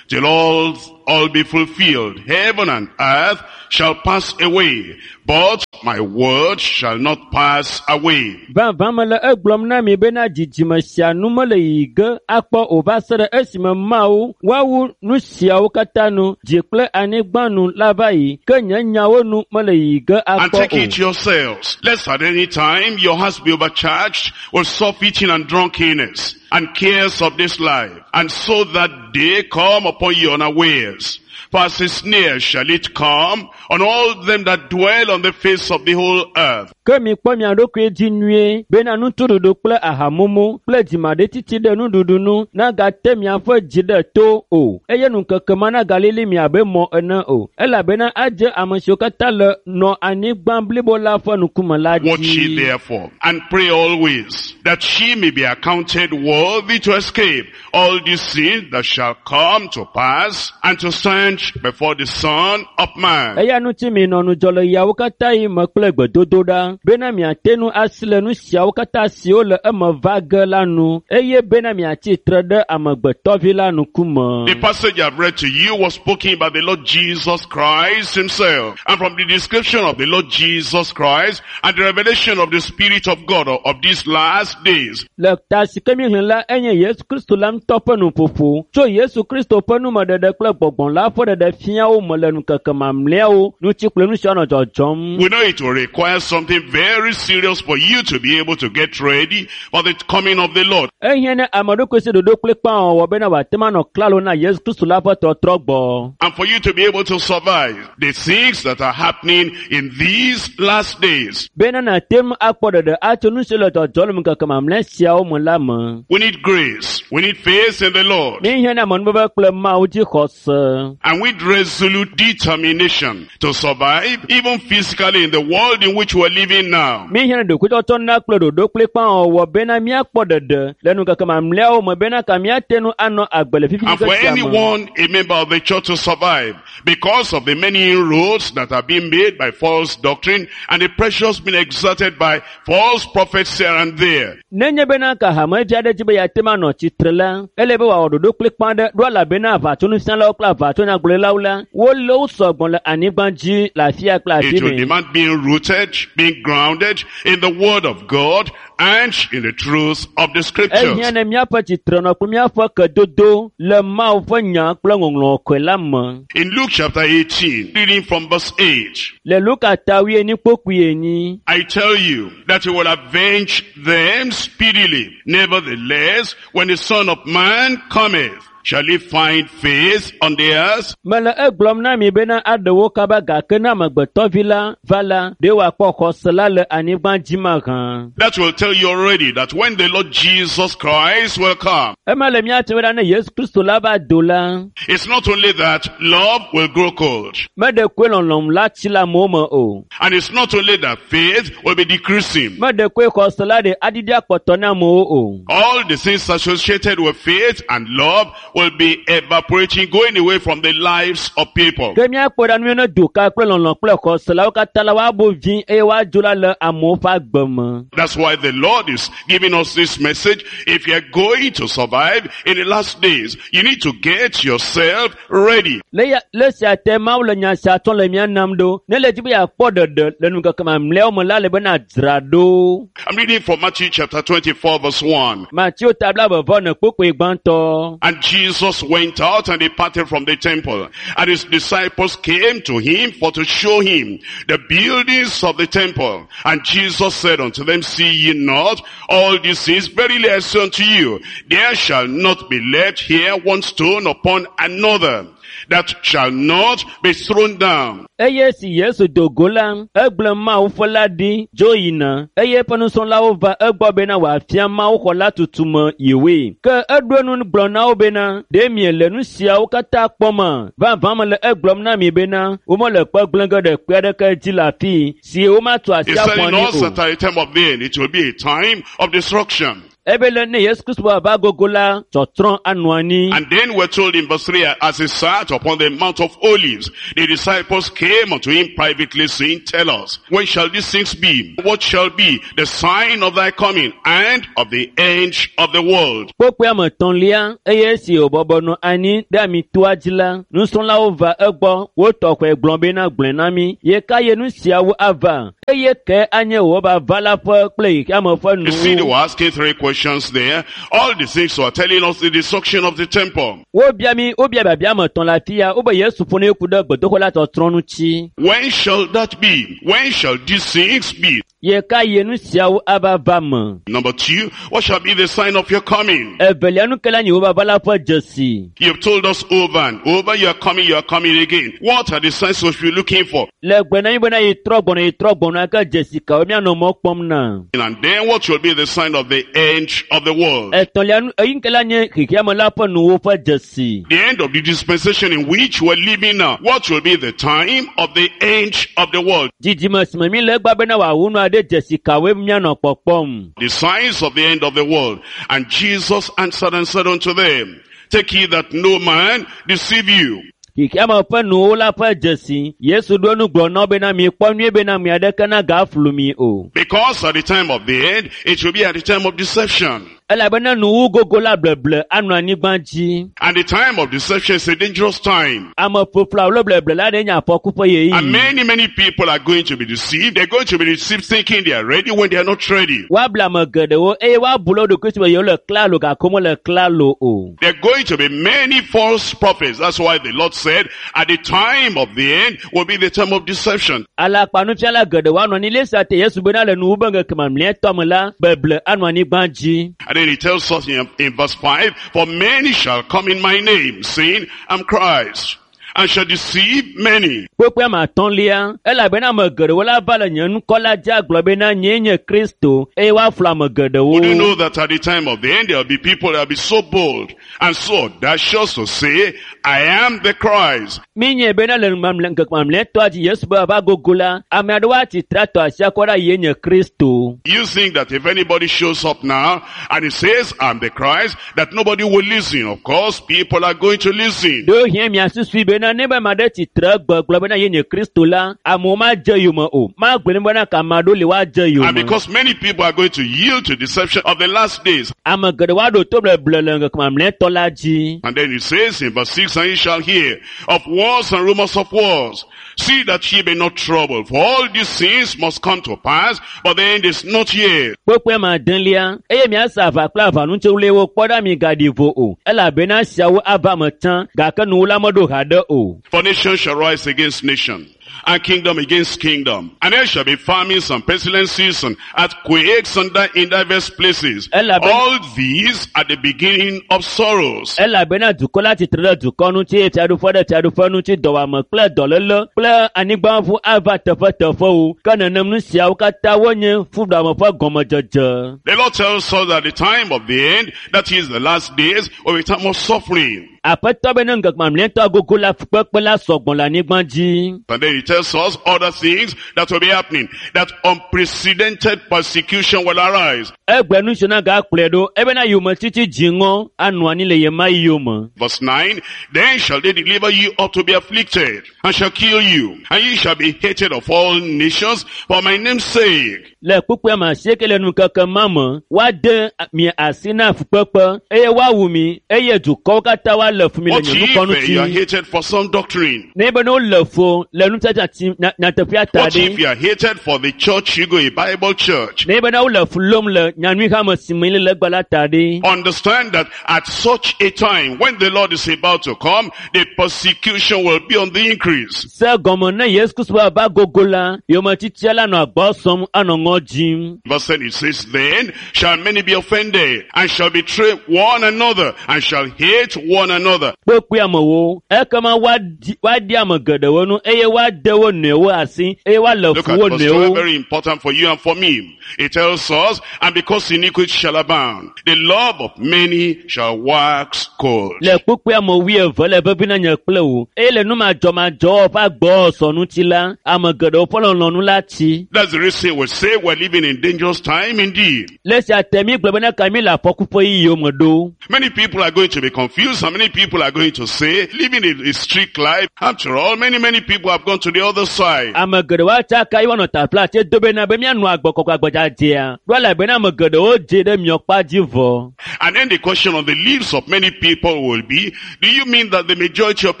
till all, all be fulfilled. Heaven and earth shall pass away, but my word shall not pass away. Vavã mele egblɔm na mi bena dzidzime sia nu mele yiyi ge akpɔ o va se ɖe esime Mawu woawu nu siawo katã nu, dzi kple anyigba nu la va yi, ke nye nyawo nu mele yiyi ge And akpɔ take o. it yourselves, lest at any time your hearts be overcharged with surfeiting and drunkenness and cares of this life, and so that day come upon you unawares. For as a snare shall it come on all them that dwell on the face of the whole earth. Ke mikpɔ mia ɖokui dzi nyuie bena nutuɖuɖu kple ahamumu kple dzimaɖitsitsi ɖe nuɖuɖu nu nagate miaƒe dzi ɖe to o eye ŋkeke ma nagalili mi abe mɔ ene o elabena adze ame siwo katã le nɔ anyigba blibo la ƒe ŋkume la Watch ye dzi. therefore, and pray always, that she may be accounted worthy to escape all these things that shall come to pass, and to stand before the Son of Man. Eya ŋuti minɔ ŋudzɔ le yawo katã yi me kple gbedodoɖa bena miate ŋu asi le nu siawo katã siwo le eme va ge la nu eye bena miatsi tre ɖe amegbetɔvi la ŋkume. The passage I've read to you was spoken by the Lord Jesus Christ himself. And from the description of the Lord Jesus Christ and the revelation of the Spirit of God of, of these last days, Le ta si ke míexlẽ la enye Yesu Kristo la ŋutɔ ƒe nuƒoƒo tso Yesu Kristo ƒe numeɖeɖe kple gbɔgbɔ la ƒe ɖeɖe fia wo me le ŋkeke mamlɛawo ŋuti kple nu siwo nɔ dzɔdzɔm. we know it will require something very serious for you to be able to get ready for the coming of the Lord. Ehiã ne ame ɖokui si ɖoɖo kplikpaa wɔwɔ bena wòate ŋu anɔ klalo na Yesu Kristo la ƒe tɔtrɔ gbɔ. And for you to be able to survive the things that are happening in these last days. Bena nàte ŋu akpɔ ɖeɖe atso nu siwo le dzɔdzɔm le ŋkeke mamlɛ siawo me la me. We need grace. We need faith in the Lord. Míehiã na amenuveve kple Mawu dzi xɔse. And with resolute determination to survive, even physically in the world in which we're living now. Míehiã na ɖokuitsɔtsɔ na kple ɖoɖo kplikpaa wɔwɔ bena míakpɔ ɖeɖe le ŋkeke mamlɛawo me bena ka míate ŋu anɔ agbe le fifi And for sia me. anyone, a member of the church, to survive because of the many inroads that have been made by false doctrine and the pressures being exerted by false prophets here and there. Nenye bena ka hamevi aɖe dzi be yeate ŋu anɔ tsitre la, ele be wòawɔ ɖoɖo kplikpaa ɖe ɖo elabena aʋatsonufialawo kple aʋatsonyagblɔɖilawo la, wole wo sɔgbɔ le anyigba dzi le afia kple afi It will mɛ. demand being rooted, being grounded in the word of God and in the truth of the scriptures. Ehiã ne míaƒe tsitrenɔ kple míaƒe kedodo le Mawu ƒe nya kple ŋɔŋlɔ kɔe la me. In Luke chapter eighteen, reading from verse eight, Le Luka ta wuienyi kpokpui enyi. I tell you that he will avenge them speedily. Nevertheless, when the Son of Man cometh, shall he find faith on the earth? Mele egblɔm na mi bena aɖe wo kaba gake ne amegbetɔvi la va la, ɖe wòakpɔ xɔse la le anyigba dzi mahã. That will tell you already that when the Lord Jesus Christ will come, Ema le míate ŋu ɖa ne Yesu Kristo la va do la, it's not only that love will grow cold, meɖe koe lɔlɔ̃m la tsi le amewo me o. and it's not only that faith will be decreasing. Meɖe koe xɔse la ɖe aɖiɖi akpɔtɔ na amewo o. All the things associated with faith and love will be evaporating, going away from the lives of people. Ke míakpɔ ɖa nu ne doka kple lɔlɔ kple xɔse la wo katã la woabo vi eye woadzo la le amewo ƒe agbe me. That's why the Lord is giving us this message. If you're going to survive in the last days, you need to get yourself ready. Le ya le sia te Mawu le nya sia tsɔm le mía nam ɖo. Ne le dzi be yeakpɔ ɖeɖe le ŋkeke mamlɛawo me la le bena dzra ɖo. I'm reading from Matthew chapter twenty-four verse one. Mateo ta blaeve ne kpukpui gbãtɔ. And Jesus went out and departed from the temple. And his disciples came to him for to show him the buildings of the temple. And Jesus said unto them, See ye not all these things? Verily I say unto you, there shall not be left here one stone upon another that shall not be thrown down. Eye si Yesu do go la, egblẽ Mawu ƒe la ɖi dzo yina eye eƒe nusrɔ̃lawo va egbɔ bena wòafia Mawu xɔ la tutume yewoe. Ke eɖo enu gblɔ na wo bena, ɖe miele nu siawo katã kpɔma? Vavã mele egblɔm na mi bena, womele kpe gblẽ ge ɖe kpe aɖeke dzi le afii si womatu asi He's aƒu telling anyi us o. that at the time of the end, it will be a time of destruction. Ebe le ne Yesu Kristo ava gogo la, tsɔtsrɔ̃ anɔ anyi. And then we're told in verse three, as he sat upon the Mount of Olives, the disciples came unto him privately, saying, Tell us, when shall these things be? What shall be the sign of thy coming and of the end of the world? Kpokpoe ame etɔ̃lia eye esi wòbɔbɔ nɔ anyi ɖe amitoa dzi la, nusrɔ̃lawo va egbɔ wotɔ xɔe gblɔ bena gblɔe na mí ye ka ye nu siawo ava eye ke anye wò vava la ƒe kple xexeame ƒe You see, they nuwo. were asking three questions there. All the things were telling us the destruction of the temple. Wobia mí wobia biabia ame etɔ̃ le afi ya wobe Yesu ƒo ne ku ɖe gbedoxɔ la tsɔtsrɔ̃ ŋuti. When shall that be? When shall these things be? Ye ka ye nu siawo ava va me? Number two, what shall be the sign of your coming? Evelia nu ke la nye wò vava la ƒe dzesi. You've told us over and over, you are coming, you are coming again. What are the signs we should be looking for? Le gbe na mí bena yi trɔ gbɔna yi trɔ gbɔna ke dzesi kawo míanɔ mɔ kpɔm na? And then what will be the sign of the end of the world? Etɔ̃lia nu eyi ke la nye xexeame la ƒe nuwo ƒe dzesi. The end of the dispensation in which we're living now. What will be the time of the end of the world? Dzidzime si me mi le egbea bena wòawu nua ɖe dzesi kawoe míanɔ kpɔkpɔm. The signs of the end of the world. And Jesus answered and said unto them, Take heed that no man deceive you. Xexeame ƒe nuwo la ƒe dzesi. Yesu ɖo nu gblɔ na wo bena mikpɔ nyuie bena ame aɖeke nagaflu mi o. Because at the time of the end, it will be at the time of deception. Elabena nuwu gogo la bleble anɔ anyigba dzi. And the time of deception is a dangerous time. Ame ƒoƒlawo le bleble la ɖe nye afɔku ƒe And ɣeyiɣi. many, many people are going to be deceived. They're going to be deceived thinking they are ready when they are not ready. Woable ame geɖewo eye woabu le wo ɖokui si be yewo le klalo gake womele klalo o. There are going to be many false prophets. That's why the Lord said, at the time of the end will be the time of deception. Alakpanufiala geɖewo anɔ anyi le sia te Yesu bena le nuwu be ŋkeke mamlɛtɔ me la, beble anɔ anyigba dzi. And then he tells us in, in verse five, For many shall come in my name, saying, I'm Christ, and shall deceive many. Kpukpui ame atɔ̃lia, elabena ame geɖewo la va le nye ŋkɔ la dzi agblɔ bena nyee nye Kristo eye woaflu ame geɖewo. Would you know that at the time of the end there will be people that will be so bold and so audacious to say, I am the Christ. Mi nye bena le mamlɛ ŋkeke mamlɛtɔa dzi Yesu be ava gogo la, ame aɖewo atsitre atɔ asi akɔ ɖe yee nye Kristo. You think that if anybody shows up now and he says, I'm the Christ, that nobody will listen. Of course, people are going to listen. Ɖewohĩ miasusui bena ne be ame aɖe tsitre gbe gblɔ bena ye nye Kristo la, amewo madze yome o. Magblɔe ne bena ke ame aɖewo li woadze And yome. because many people are going to yield to deception of the last days. Ame geɖewo aɖo to bleble le ŋkeke mamlɛtɔ la dzi. And then he says in verse six, And ye shall hear of wars and rumors of wars. See that ye be not troubled, for all these things must come to pass, but the end is not yet. Kpukpui ame adelia, eye miase aʋa kple aʋanutsiwliwo kpɔ ɖa migaɖi vo o, elabena esiawo ava me tsã, gake nuwo la meɖo haɖe o. For nation shall rise against nation, and kingdom against kingdom. And there shall be famines and pestilences and earthquakes and di- in diverse places. Elabe- All these are the beginning of sorrows. Elabena dukɔ la tsitre ɖe dukɔ ŋuti eye fiaɖuƒe ɖe fiaɖuƒe ŋuti dɔwɔame kple dɔléle kple anyigbaʋu ava teƒeteƒewo. Ke nenem nu siawo katã wonye fuɖuame ƒe gɔmedzedze. The Lord tells us that the time of the end, that is the last days, will be time of suffering. Aƒetɔ be ne ŋkeke mamlɛtɔ gogo la fukpekpe la sɔgbɔ le anyigba dzi. And then he tells us other things that will be happening. That unprecedented persecution will arise. Egbe nu si na gakplɔe ɖo ebena yometiti dziŋɔ anɔ anyi le yema yome. Verse nine, then shall they deliver you up to be afflicted, and shall kill you, and ye shall be hated of all nations for my name's sake. Le kpukpui me asieke le nukeke ma me, woade mi asi na fukpekpe eye woawu mi eye dukɔwo katã woalé fu mi le What nye if ŋkɔ uh, you are ŋuti. hated for some doctrine? Ne be ne wole fu le nutiatia ti nya- nyateƒea ta What if ɖe. you are hated for the church you go, a Bible church? Ne be ne wole fu lom le nyanyui hame si me le egbe la ta ɖe. Understand that at such a time, when the Lord is about to come, the persecution will be on the increase. Se gɔme ne Yesu Kristo ava gogo la, yometitia la nɔ agbɔ sɔm anɔ ŋɔ dzim. Verse ten, it says, then shall many be offended, and shall betray one another, and shall hate one another. Kpekpe amewo, ekema woadi woadi ame geɖewo nu eye woade wo nɔewo asi eye woalé Look fu at wo verse twelve, nɔewo. very important for you and for me. It tells us, and because iniquity shall abound, the love of many shall wax cold. Le kpukpui ame wuieve le vevi na nye kple wò eye le numadzɔmadzɔwɔ ƒe agbɔsɔ ŋuti la, ame geɖewo ƒe lɔlɔ̃nu la tsi. That's the reason we say we're living in dangerous time indeed. Le esia te mi gblɔ bena ka mi le afɔku ƒe yiyiwo me ɖo. Many people are going to be confused and many people are going to say, living a, a strict life. After all, many, many people have gone to the other side. Ame geɖewo atsaka ye woanɔ taflatse do bena be míanɔ agbɔkɔkɔ agbɔdzadzea. Ɖo elabena ame geɖewo dze ɖe miɔkpa dzi vɔ. And then the question on the lips of many people will be, do you mean that the majority of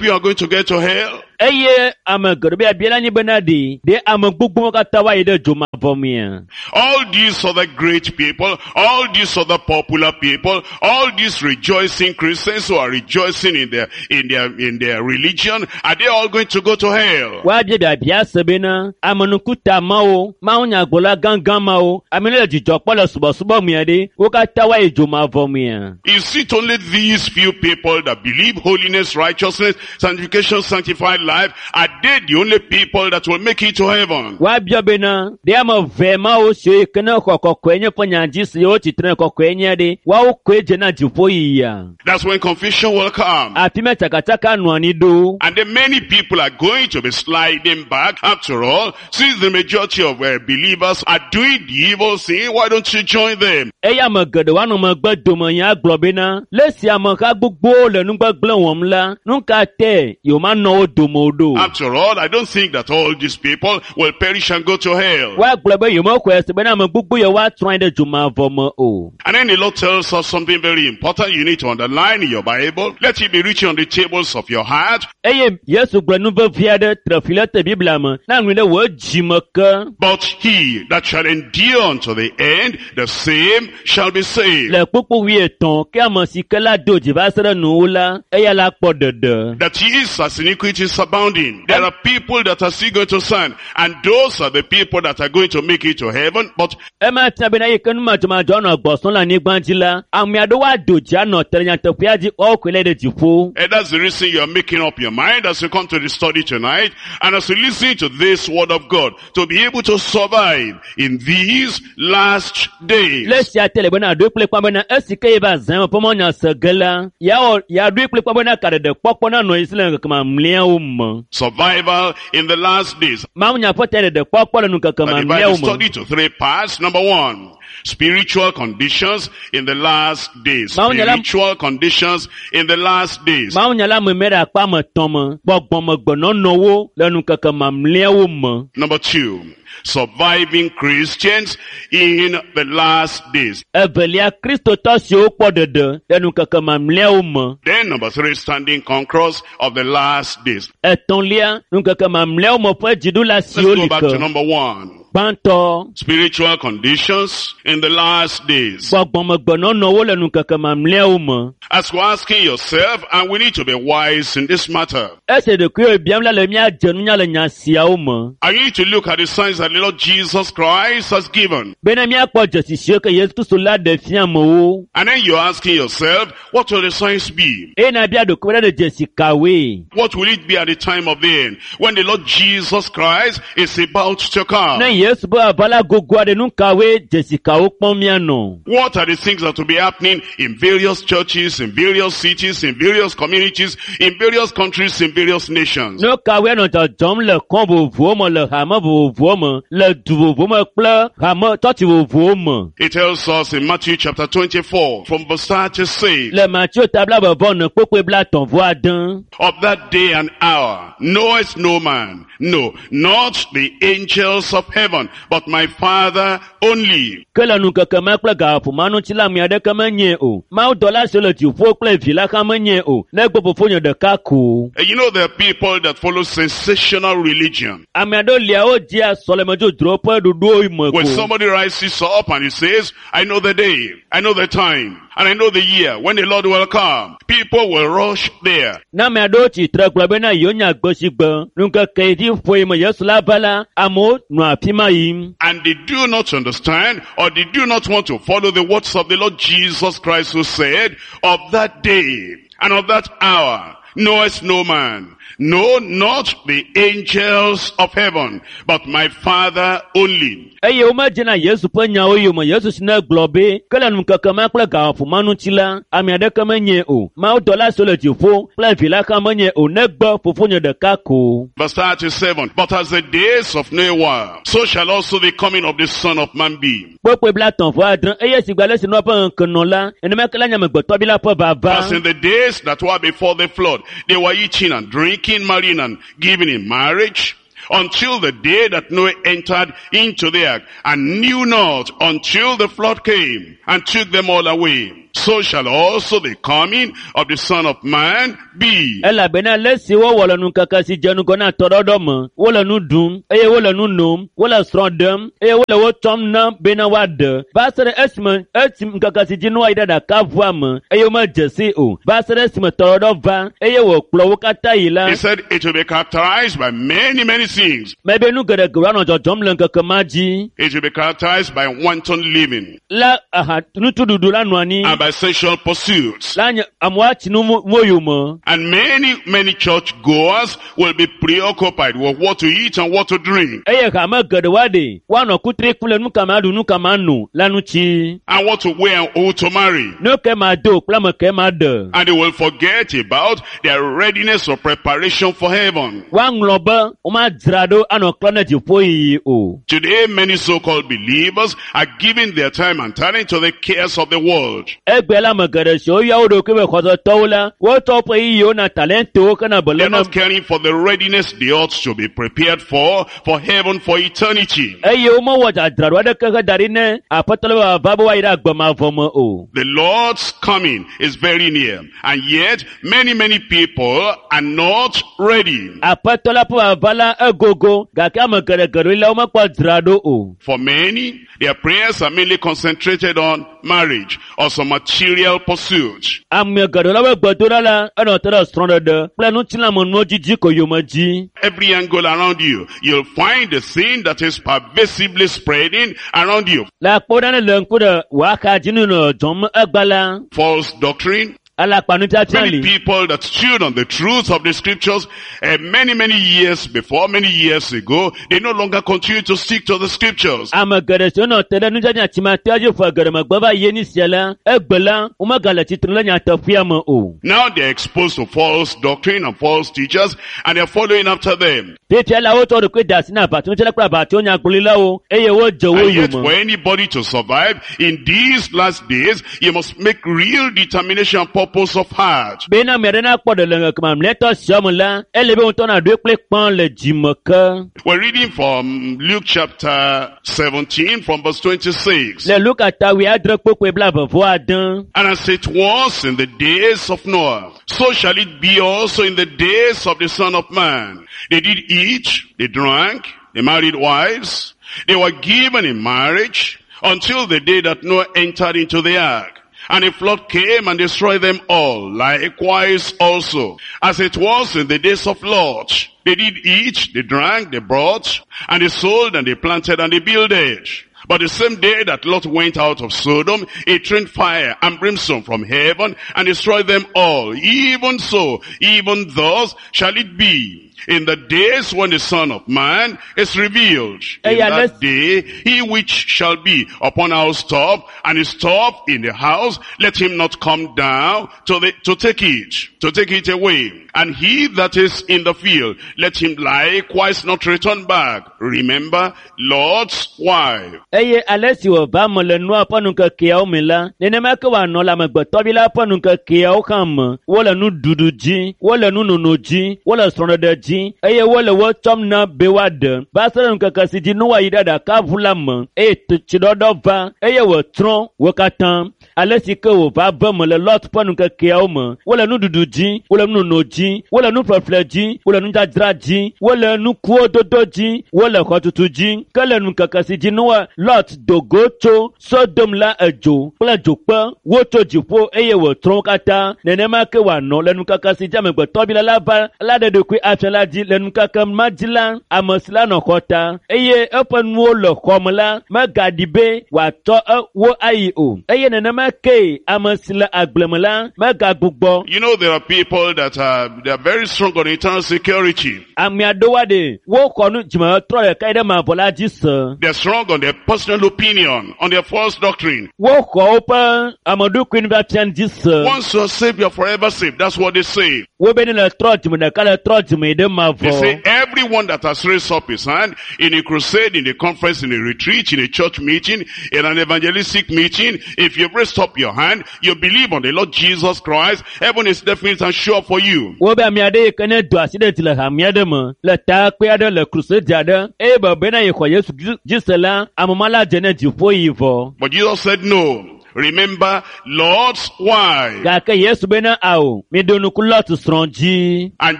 you are going to get to hell? Eye ame geɖewo be abia la nyi bena ɖe ɖe ame gbogbowo katã woayi ɖe dzomavɔ mea. All these other great people, all these other popular people, all these rejoicing Christians who are rejoicing in their, in their, in their religion, are they all going to go to hell? Woabia biabia se bena amenukuta mawo, mawunyagblɔla gãgã mawo, ame yiwo le dzidzɔ kpɔm le subɔsubɔ mea ɖe, wo katã woayi dzomavɔ mea. Is it only these few people that believe holiness, righteousness, sanctification, sanctified life? Are they the only people that will make it to heaven? Woabia bena ɖe ame eve mawo siwo yi ke ne xɔ kɔkɔe nye ƒe nya dzi si wotsitre kɔkɔe nye ɖe, woawo koe dze na dziƒo yiyia. That's when confusion will come. Afi ma tsakatsaka nɔ anyi ɖo. And then many people are going to be sliding back. After all, since the majority of uh, believers are doing the evil thing, why don't you join them? Eye ame geɖewo anɔ megbe dome nya agblɔ bena le esi ameha gbogbowo le nugbegblẽ wɔm la, nu ka te yewomanɔ wo dome o ɖo. After all, I don't think that all these people will perish and go to hell. Woagblɔ be yewomexɔe se bena ame gbogbo yewo atrɔ anyi ɖe dzomavɔ me o. And then the Lord tells us something very important you need to underline in your Bible. Let it be written on the tables of your heart. Eye Yesu gblɔ nu vevi aɖe tre fi le te Biblia me na ŋlɔe ɖe wò dzime ke. But he that shall endure unto the end, the same shall be saved. Le kpukpu wuietɔ̃ ke ame si ke la do dzi va se ɖe nuwo la, eya la kpɔ ɖeɖe. That is as iniquity is abounding. There are people that are still going to stand, and those are the people that are going to make it to heaven. But Ema fia bena yi ke numadzɔmadzɔ nɔ gbɔsɔm le anyigba dzi la, ame aɖewo ado dzi anɔ te ɖe nyateƒea dzi woawo koe le ɖe dziƒo. And that's the reason you are making up your mind as you come to the study tonight and as you listen to this word of God to be able to survive in these last days. Le esia te le bena ɖoe kple kpa bena esi ke ye va zã me ƒe mɔnya se ge la, yeawɔ yeaɖoe kple kpa bena kaɖeɖe kpɔkpɔ nanɔ ye si le ŋkeke mamlɛawo me. Survival in the last days. Mawunya ƒe ta ɖeɖe kpɔkpɔ le ŋkeke I divide the mamlɛawo me. study to three parts. Number one, spiritual conditions in the last days. Mawunya la- Spiritual conditions in the last days. Mawunya la me me ɖe akpa ame etɔ̃ me, gbɔgbɔmegbenɔnɔwo le ŋkeke mamlɛawo me. Number two, surviving Christians in the last days. Evelia, Kristotɔ siwo kpɔ ɖeɖe le ŋkeke mamlɛawo me. Then number three, standing conquerors of the last days. Etɔ̃lia, ŋkeke mamlɛawo me ƒe dziɖula Let's siwo go li back to ke. number one. Gbãtɔ, Spiritual conditions in the last days. gbɔgbɔmegbenɔnɔwo le ŋkeke mamlɛawo me. As we're asking yourself, and we need to be wise in this matter. Esi ɖokuiwò biam la le míadze nunya le nya siawo me. I need to look at the signs that the Lord Jesus Christ has given. Bena míakpɔ dzesi siwo ke Yesu Kristo la ɖe fia amewo. And then you're asking yourself, what will the signs be? Eye nabia ɖokuiwò ɖe dzesi kawoe? What will it be at the time of the end? When the Lord Jesus Christ is about to come. Ne Yesu be vava la gogo aɖe nu kawoe dzesi kawo kpɔm míanɔ? What are the things that will be happening in various churches, in various cities, in various communities, in various countries, in various nations? Nu kawoe nɔ dzɔdzɔm le kɔn vovovowo me, le hame vovovowo me, le du vovovowo me kple hame tsɔtsi vovovowo me? It tells us in Matthew chapter twenty-four from verse thirty-six, Le Mateo ta blaeve vɔ ene kpukpui blaetɔ̃ vɔ ade. Of that day and hour knoweth no man, no, not the angels of heaven, but my Father only. Ke le ŋkeke ma kple gaƒoƒo ma ŋuti la, ame aɖeke menyae o. Mawudɔla siwo le dziƒo kple vi la hã menyae o, negbe fofonye ɖeka ko. And you know there are people that follow sensational religion. Ame aɖewo lia wodzia sɔlemedzodzrowo ƒe ɖoɖowo me When ko. somebody rises up and he says, I know the day, I know the time, and I know the year when the Lord will come, people will rush there. Ne ame aɖewo tsi tre gblɔ bena yewo nya gbe si gbe ŋkeke yi dzi ƒoe me Yesu la va la, amewo nɔa afi ma yim. And they do not understand, or they do not want to follow the words of the Lord Jesus Christ, who said, of that day and of that hour knoweth no man, no, not the angels of heaven, but my Father only. Eye womedzena Yesu ƒe nyawo yome. Yesu si ne gblɔ be ke le ŋkeke ma kple gaƒoƒo ma ŋuti la, ame aɖeke menyae o. Mawudɔla siwo le dziƒo kple vi la hã menyae o, negbe fofonye ɖeka ko. Verse thirty-seven, but as the days of Noah were, so shall also the coming of the Son of Man be. Kpukpui blaetɔ̃ vɔ adre, eye si gbe ale si Noa ƒe ŋkeke nɔ la, nenema ke la nye amegbetɔvi la ƒe vava. As in the days that were before the flood, they were eating and drinking, marrying and giving in marriage, until the day that Noah entered into the ark, and knew not until the flood came and took them all away. So shall also the coming of the Son of Man be. Elabena le si wowɔ le ŋkeke si dze ŋgɔ na tɔɖɔɖɔ me, wole nu ɖum eye wole nu nom, wole srɔ̃ ɖem eye wole wo tsɔm nam bena woaɖe. Va se ɖe esime esi ŋkeke si dzi Noa yi ɖe ɖakaʋua me eye womedze sii o. Va se ɖe esime tɔɖɔɖɔ va eye wòkplɔ wo katã yi la. He said it will be characterized by many, many things. Mebe nu geɖegewo anɔ dzɔdzɔm le ŋkeke ma dzi. It will be characterized by wanton living La aha nutuɖuɖu la nɔ anyi. and by sexual pursuits. La nye amewo atsi nu mo yome. And many, many church goers will be preoccupied with what to eat and what to drink, Eye hame geɖewo aɖe woanɔ kutri kum le nu ka ma ɖu, nu ka ma no la ŋuti. and what to wear and who to marry. Nu ke ma do kple ame ke ma ɖe. And they will forget about their readiness or preparation for heaven. Woaŋlɔ be womadzra ɖo anɔ klɔ ne dziƒo yiyi o. Today, many so-called believers are giving their time and talent to the cares of the world. Egbe la ame geɖe siwo yɔ wo ɖokui be xɔsetɔwo la, wotsɔ woƒe yiyiwo na talentowo hena They're beléle. not caring for the readiness they ought to be prepared for, for heaven, for eternity. Eye womewɔ dzadzraɖo aɖeke heda ɖi ne aƒetɔ la be vava be woayi ɖe agbe mavɔ me o. The Lord's coming is very near, and yet many, many people are not ready. Aƒetɔ la ƒe vava la egogo gake ame geɖe geɖewo la womekpɔ dzra ɖo o. For many, their prayers are mainly concentrated on marriage or some material pursuits. Ame geɖewo la ƒe gbedoɖa la enɔ te ɖe srɔ̃ɖeɖe kple ŋutilãmenuwo dzidzi ko yome dzi. Every angle around you, you'll find the thing that is pervasively spreading around you. Le akpɔ ɖa ne le ŋku ɖe wò dzi nu nɔ dzɔm egba la, False doctrine. alakpanufiafia Many li. people that stood on the truth of the scriptures uh, many, many years before, many years ago, they no longer continue to stick to the scriptures. Ame geɖe siwo nɔ te ɖe nudzadzia tsimatea dzi ƒe geɖe megbe va yi sia la, egbe la, womegale tsitre le nyateƒea me o. Now they're exposed to false doctrine and false teachers, and they're following after them. Fifia la wotsɔ ɖokui de asi na aʋatsonufiala kple aʋatsonyagblɔɖilawo eye wodze wo And yet yome. for anybody to survive in these last days, you must make real determination and purpose of heart. Bena ame aɖe nakpɔ ɖe le ŋkeke mamlɛtɔ sia me la, ele be ŋutɔ naɖoe kple kpã le dzime ke. We're reading from Luke chapter seventeen from verse twenty-six. Le Luka ta wuiadre kpukpui blaeve vɔ ade. And as it was in the days of Noah, so shall it be also in the days of the Son of Man. They did eat, they drank, they married wives, they were given in marriage until the day that Noah entered into the ark. And a flood came and destroyed them all. Likewise also, as it was in the days of Lot, they did eat, they drank, they brought, and they sold, and they planted, and they builded. But the same day that Lot went out of Sodom, it rained fire and brimstone from heaven and destroyed them all. Even so, even thus shall it be in the days when the Son of Man is revealed. In Eya that let's- day, he which shall be upon housetop and his top in the house, let him not come down to, the, to take it, to take it away. And he that is in the field, let him likewise not return back. Remember Lot's wife. Eye ale si wòva me le Noa ƒe nukekeawo me la, nenema ke wòanɔ le amegbetɔvi la ƒe nukekeawo hã me. Wole nuɖuɖu dzi, wole nunono dzi, wole srɔ̃ɖeɖe dzi eye wole wo tsɔm na be woaɖe. Va se ɖe ŋkeke si dzi Noa yi ɖe aɖakaʋu la me eye tsiɖɔɖɔ va eye wòtsrɔ̃ wo katã. Ale si ke wòva ve me le Lot ƒe nukekeawo me. Wole nuɖuɖu dzi, wole nunono dzi, wole nuƒleƒle dzi, wole nudzadzra dzi, wole nukuwo dodo dzi, wole xɔtutu dzi. Ke le ŋkeke si dzi Noa Lot do go tso Sodom la edzo kple dzokpe wotso dziƒo eye wòtsrɔ̃ wo katã. Nenema ke wòanɔ le ŋkeke si dzi amegbetɔvi la la va la ɖe ɖokui afia la dzi. Le ŋkeke ma dzi la, ame si la nɔ xɔ ta eye eƒe nuwo le xɔ me la megaɖi be wòatsɔ e- wo ayi o. Eye nenema ke ame si le agble me la megagbugbɔ. You know, there are people that are, they are very strong on eternal security. Ame aɖewo aɖe woxɔ nu dzimetrɔ ɖeka yi ɖe mavɔ la dzi se. They're strong on their personal opinion, on their false doctrine. Woxɔ woƒe ameɖokui nufiafia dzi se. Once you're saved, you're forever saved. That's what they say. Wobe ne le trɔ dzime ɖeka le trɔ dzime yi ɖe They say mavɔ. everyone that has raised up his hand in a crusade, in a conference, in a retreat, in a church meeting, in an evangelistic meeting, if you've raised up your hand, you believe on the Lord Jesus Christ, heaven is definite and sure for you. Wobe ame aɖe yi ke ne do asi ɖe dzi le hame aɖe me, le takpe aɖe, le krusedi aɖe, eye be bena yexɔ Yesu dzi dzi se la, ame ma la dze ne dziƒo yi vɔ. But Jesus said no. Remember Lot's wife. Gake Yesu bena ao, miɖo ŋku Lot srɔ̃ dzi. And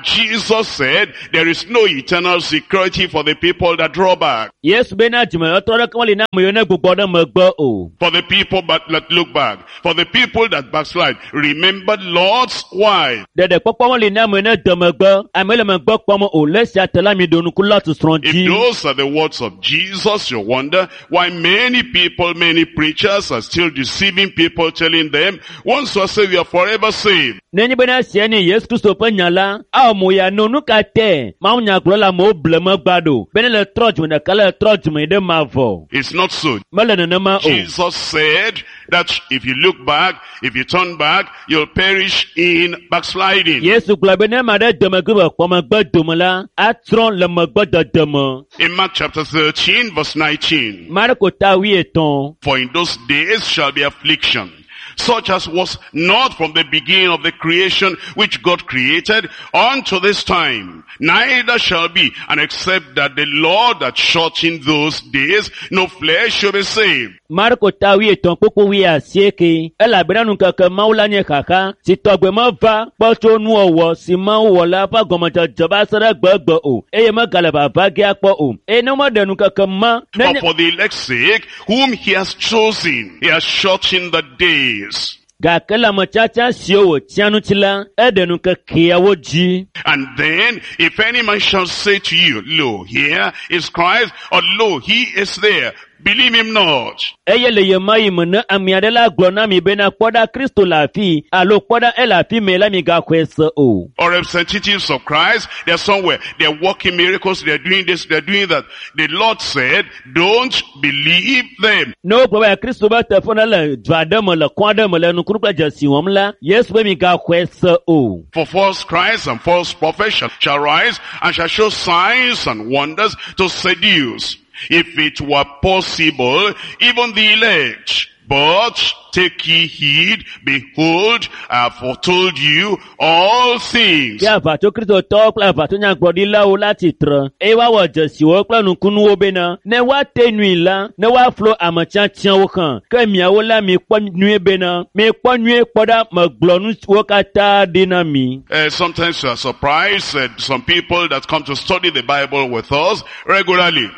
Jesus said there is no eternal security for the people that draw back. Yesu bena dzimetrɔ ɖeke meli na ame yiwo ne gbugbɔ ɖe megbe o. For the people but that look back. For the people that backslide. Remember Lot's wife. Ɖeɖekpɔkpɔ meli na ame yiwo ne de megbe, ame yiwo le megbe kpɔm o. Le esia te la, miɖo ŋku Lot srɔ̃ If dzi. those are the words of Jesus, you wonder why many people, many preachers are still deceiving people, telling them, once you are saved, you are forever saved. Nenye bena esia nye Yesu Kristo ƒe nya la, awɔ mo ya no nu ka tɛ mawunyagblɔ le amewo ble megba ɖo bene le trɔ dzime ɖeka le trɔ dzime yi ɖe mavɔ. It's not so. Mele nenema o. Jesus said that if you look back, if you turn back, you'll perish in backsliding. Yesu gblɔ be ne ame aɖe de megbe be kpɔ megbe dome la, atrɔ le megbe dede me. In Mark chapter thirteen, verse nineteen. Marko ta wuietɔ̃. For in those days shall be affliction, such as was not from the beginning of the creation which God created unto this time. Neither shall be, and except that the Lord that shortened those days, no flesh shall be saved. Marko ta wuietɔ̃ kpukpu wuiasieke elabena ŋkeke Mawu la nye xaxa si tɔgbe meva kpɔ tso nuwɔwɔ si Mawu wɔ la ƒe gɔmedzedze va se ɖe gbegbe o eye megale vava ge akpɔ o eye ne womeɖe ŋkeke ma But nenye for the elect's sake, whom he has chosen, he has shortened the days. gake le ame tiatia siwo wòtia ŋuti la eɖe ŋkekeawo dzi. And then, if any man shall say to you, Lo, here is Christ, or lo, he is there, believe him not. Eye le ɣemaɣi me ne ame aɖe la gblɔ na mi bena kpɔ ɖa Kristo le afii alo kpɔ ɖa ele afi mɛ la migaxɔe se o. Or representatives of Christ, they're somewhere, they're working miracles, they're doing this, they're doing that. The Lord said, don't believe them. Ne wogblɔ be Kristo be teƒe ne le du aɖe me le kɔ aɖe me le nukunu kple dzesi wɔm la, Yesu be migaxɔe se o. For false Christs and false prophets shall, shall rise and shall show signs and wonders to seduce, if it were possible, even the elect. But take ye heed, behold, I have foretold you all things. Ke aʋatso Kristotɔwo kple aʋatso nyagblɔɖilawo la tsitre eye woawɔ dzesiwo kple nukunuwo bena ne woate nui la, ne woaflo ame tiatiawo hã. Ke miawo la mikpɔ nyuie bena mikpɔ nyuie kpɔ ɖa megblɔ nu siwo katã ɖi na mi. Uh, sometimes we are surprised at some people that come to study the Bible with us regularly.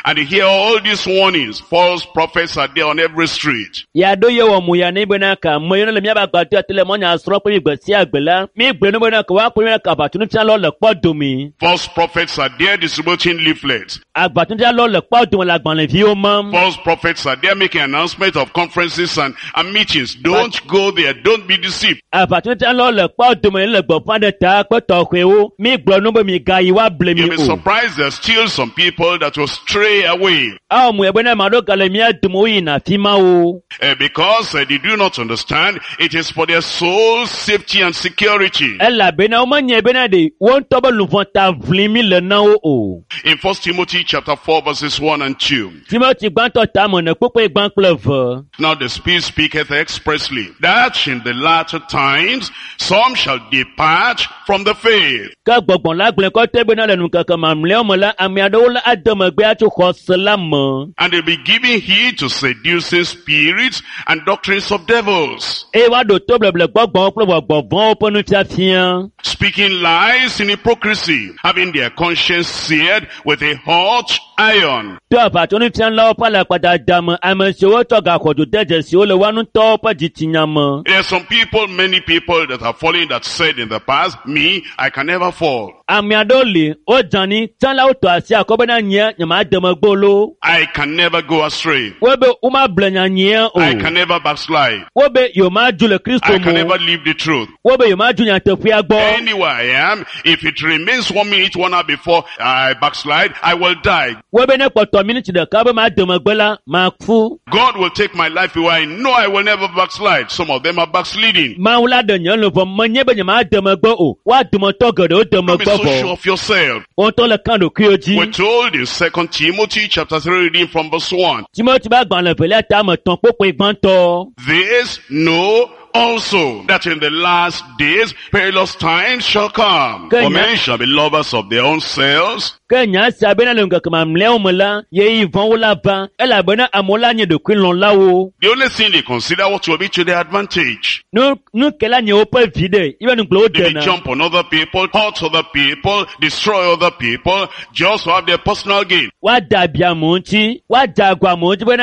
and they hear all these warnings, false prophets are there on every street. Yaɖo ye wɔ mu ya ne bena ka ame yiwo le míaƒe agbadɔ te le mɔnya srɔ̃ kple mi gbe sia gbe la, mi gblɔ ne bena ka woakpɔ bena ka aʋatsonufialawo le kpɔ dome. False prophets are there distributing leaflets. Aʋatsonufialawo le kpɔ dome le agbalẽviwo mam. False prophets are there making announcements of conferences and, and meetings. Don't go there. Don't be deceived. Aʋatsonufialawo le kpɔ dome le gbeƒã ɖe ta kple tɔxɛwo. Mi gblɔ nu be mi gayi woable mi You'll be o. surprised there's still some people that will stray away Awɔ mu ya bena ame aɖewo gale mía dome woyina afi ma o. uh, because uh, they do not understand it is for their soul's safety and security. Elabena womenye bena ɖe wo ŋutɔ be luʋɔ ta ʋlim mi le na wo o. In First Timothy chapter four verses one and two. Timothy gbãtɔ ta me ne kpukpui gbã kple eve. Now the Spirit speaketh expressly that in the latter times some shall depart from the faith, Ke gbɔgbɔ la gblɔe kɔtɛ bena le nukeke mamlɛawo me la, ame aɖewo la ade megbe atso xɔse la me. and they'll be giving heed to seducing spirits and doctrines of devils, Eye woaɖo to bleble gbɔgbɔwo kple gbɔgbɔ vɔ̃wo ƒe nufiafia. speaking lies in hypocrisy, having their conscience seared with a hot iron, To aʋatsonufialawo ƒe alakpadada me, ame siwo tsɔ gaxɔdzo de dzesiwo le woa ŋutɔwo ƒe dzitsinya me. There are some people, many people that are falling that said in the past, me, I can never fall. Ame aɖewo li, wodze anyi, tsã la wotɔ asi akɔ bena nye nyemade megbe o loo. I can never go astray. Wobe womable nyanyia o. I can never backslide. Wobe yewomadzu le Kristo I can me o. never leave the truth. Wobe yewomadzu nyateƒea gbɔ. Anywhere I am, if it remains one minute, one hour before I backslide, I will die. Wobe ne kpɔtɔ miniti ɖeka be made megbe la, maku. God will take my life away. I know I will never backslide. Some of them are backsliding. Mawu la ɖe nye luʋɔ menye be nyemade megbe o. Woa dometɔ geɖewo de Don't be megbe so vɔ. sure of yourself. Wo ŋutɔ le kan ɖokuiwo dzi. We're told in Second Timothy chapter three, reading from verse one. Timothy ƒe agbalẽ evelia ta ame etɔ̃ kpokpoe gbãtɔ. This know also that in the last days perilous times shall come. Kenya. For men shall be lovers of their own selves, Ke nya sia bena le ŋkeke mamlɛawo me la, ɣeyiɣi vɔ̃wo la va elabena amewo la nye ɖokuilɔ̃lawo. The only thing they consider what will be to their advantage. Nu nu ke la nye woƒe vi ɖe, yibe nugblẽ wo They may dena. jump on other people, hurt other people, destroy other people, just to have their personal gain. Woade abi amewo ŋuti, woadze agɔ amewo ŋuti bena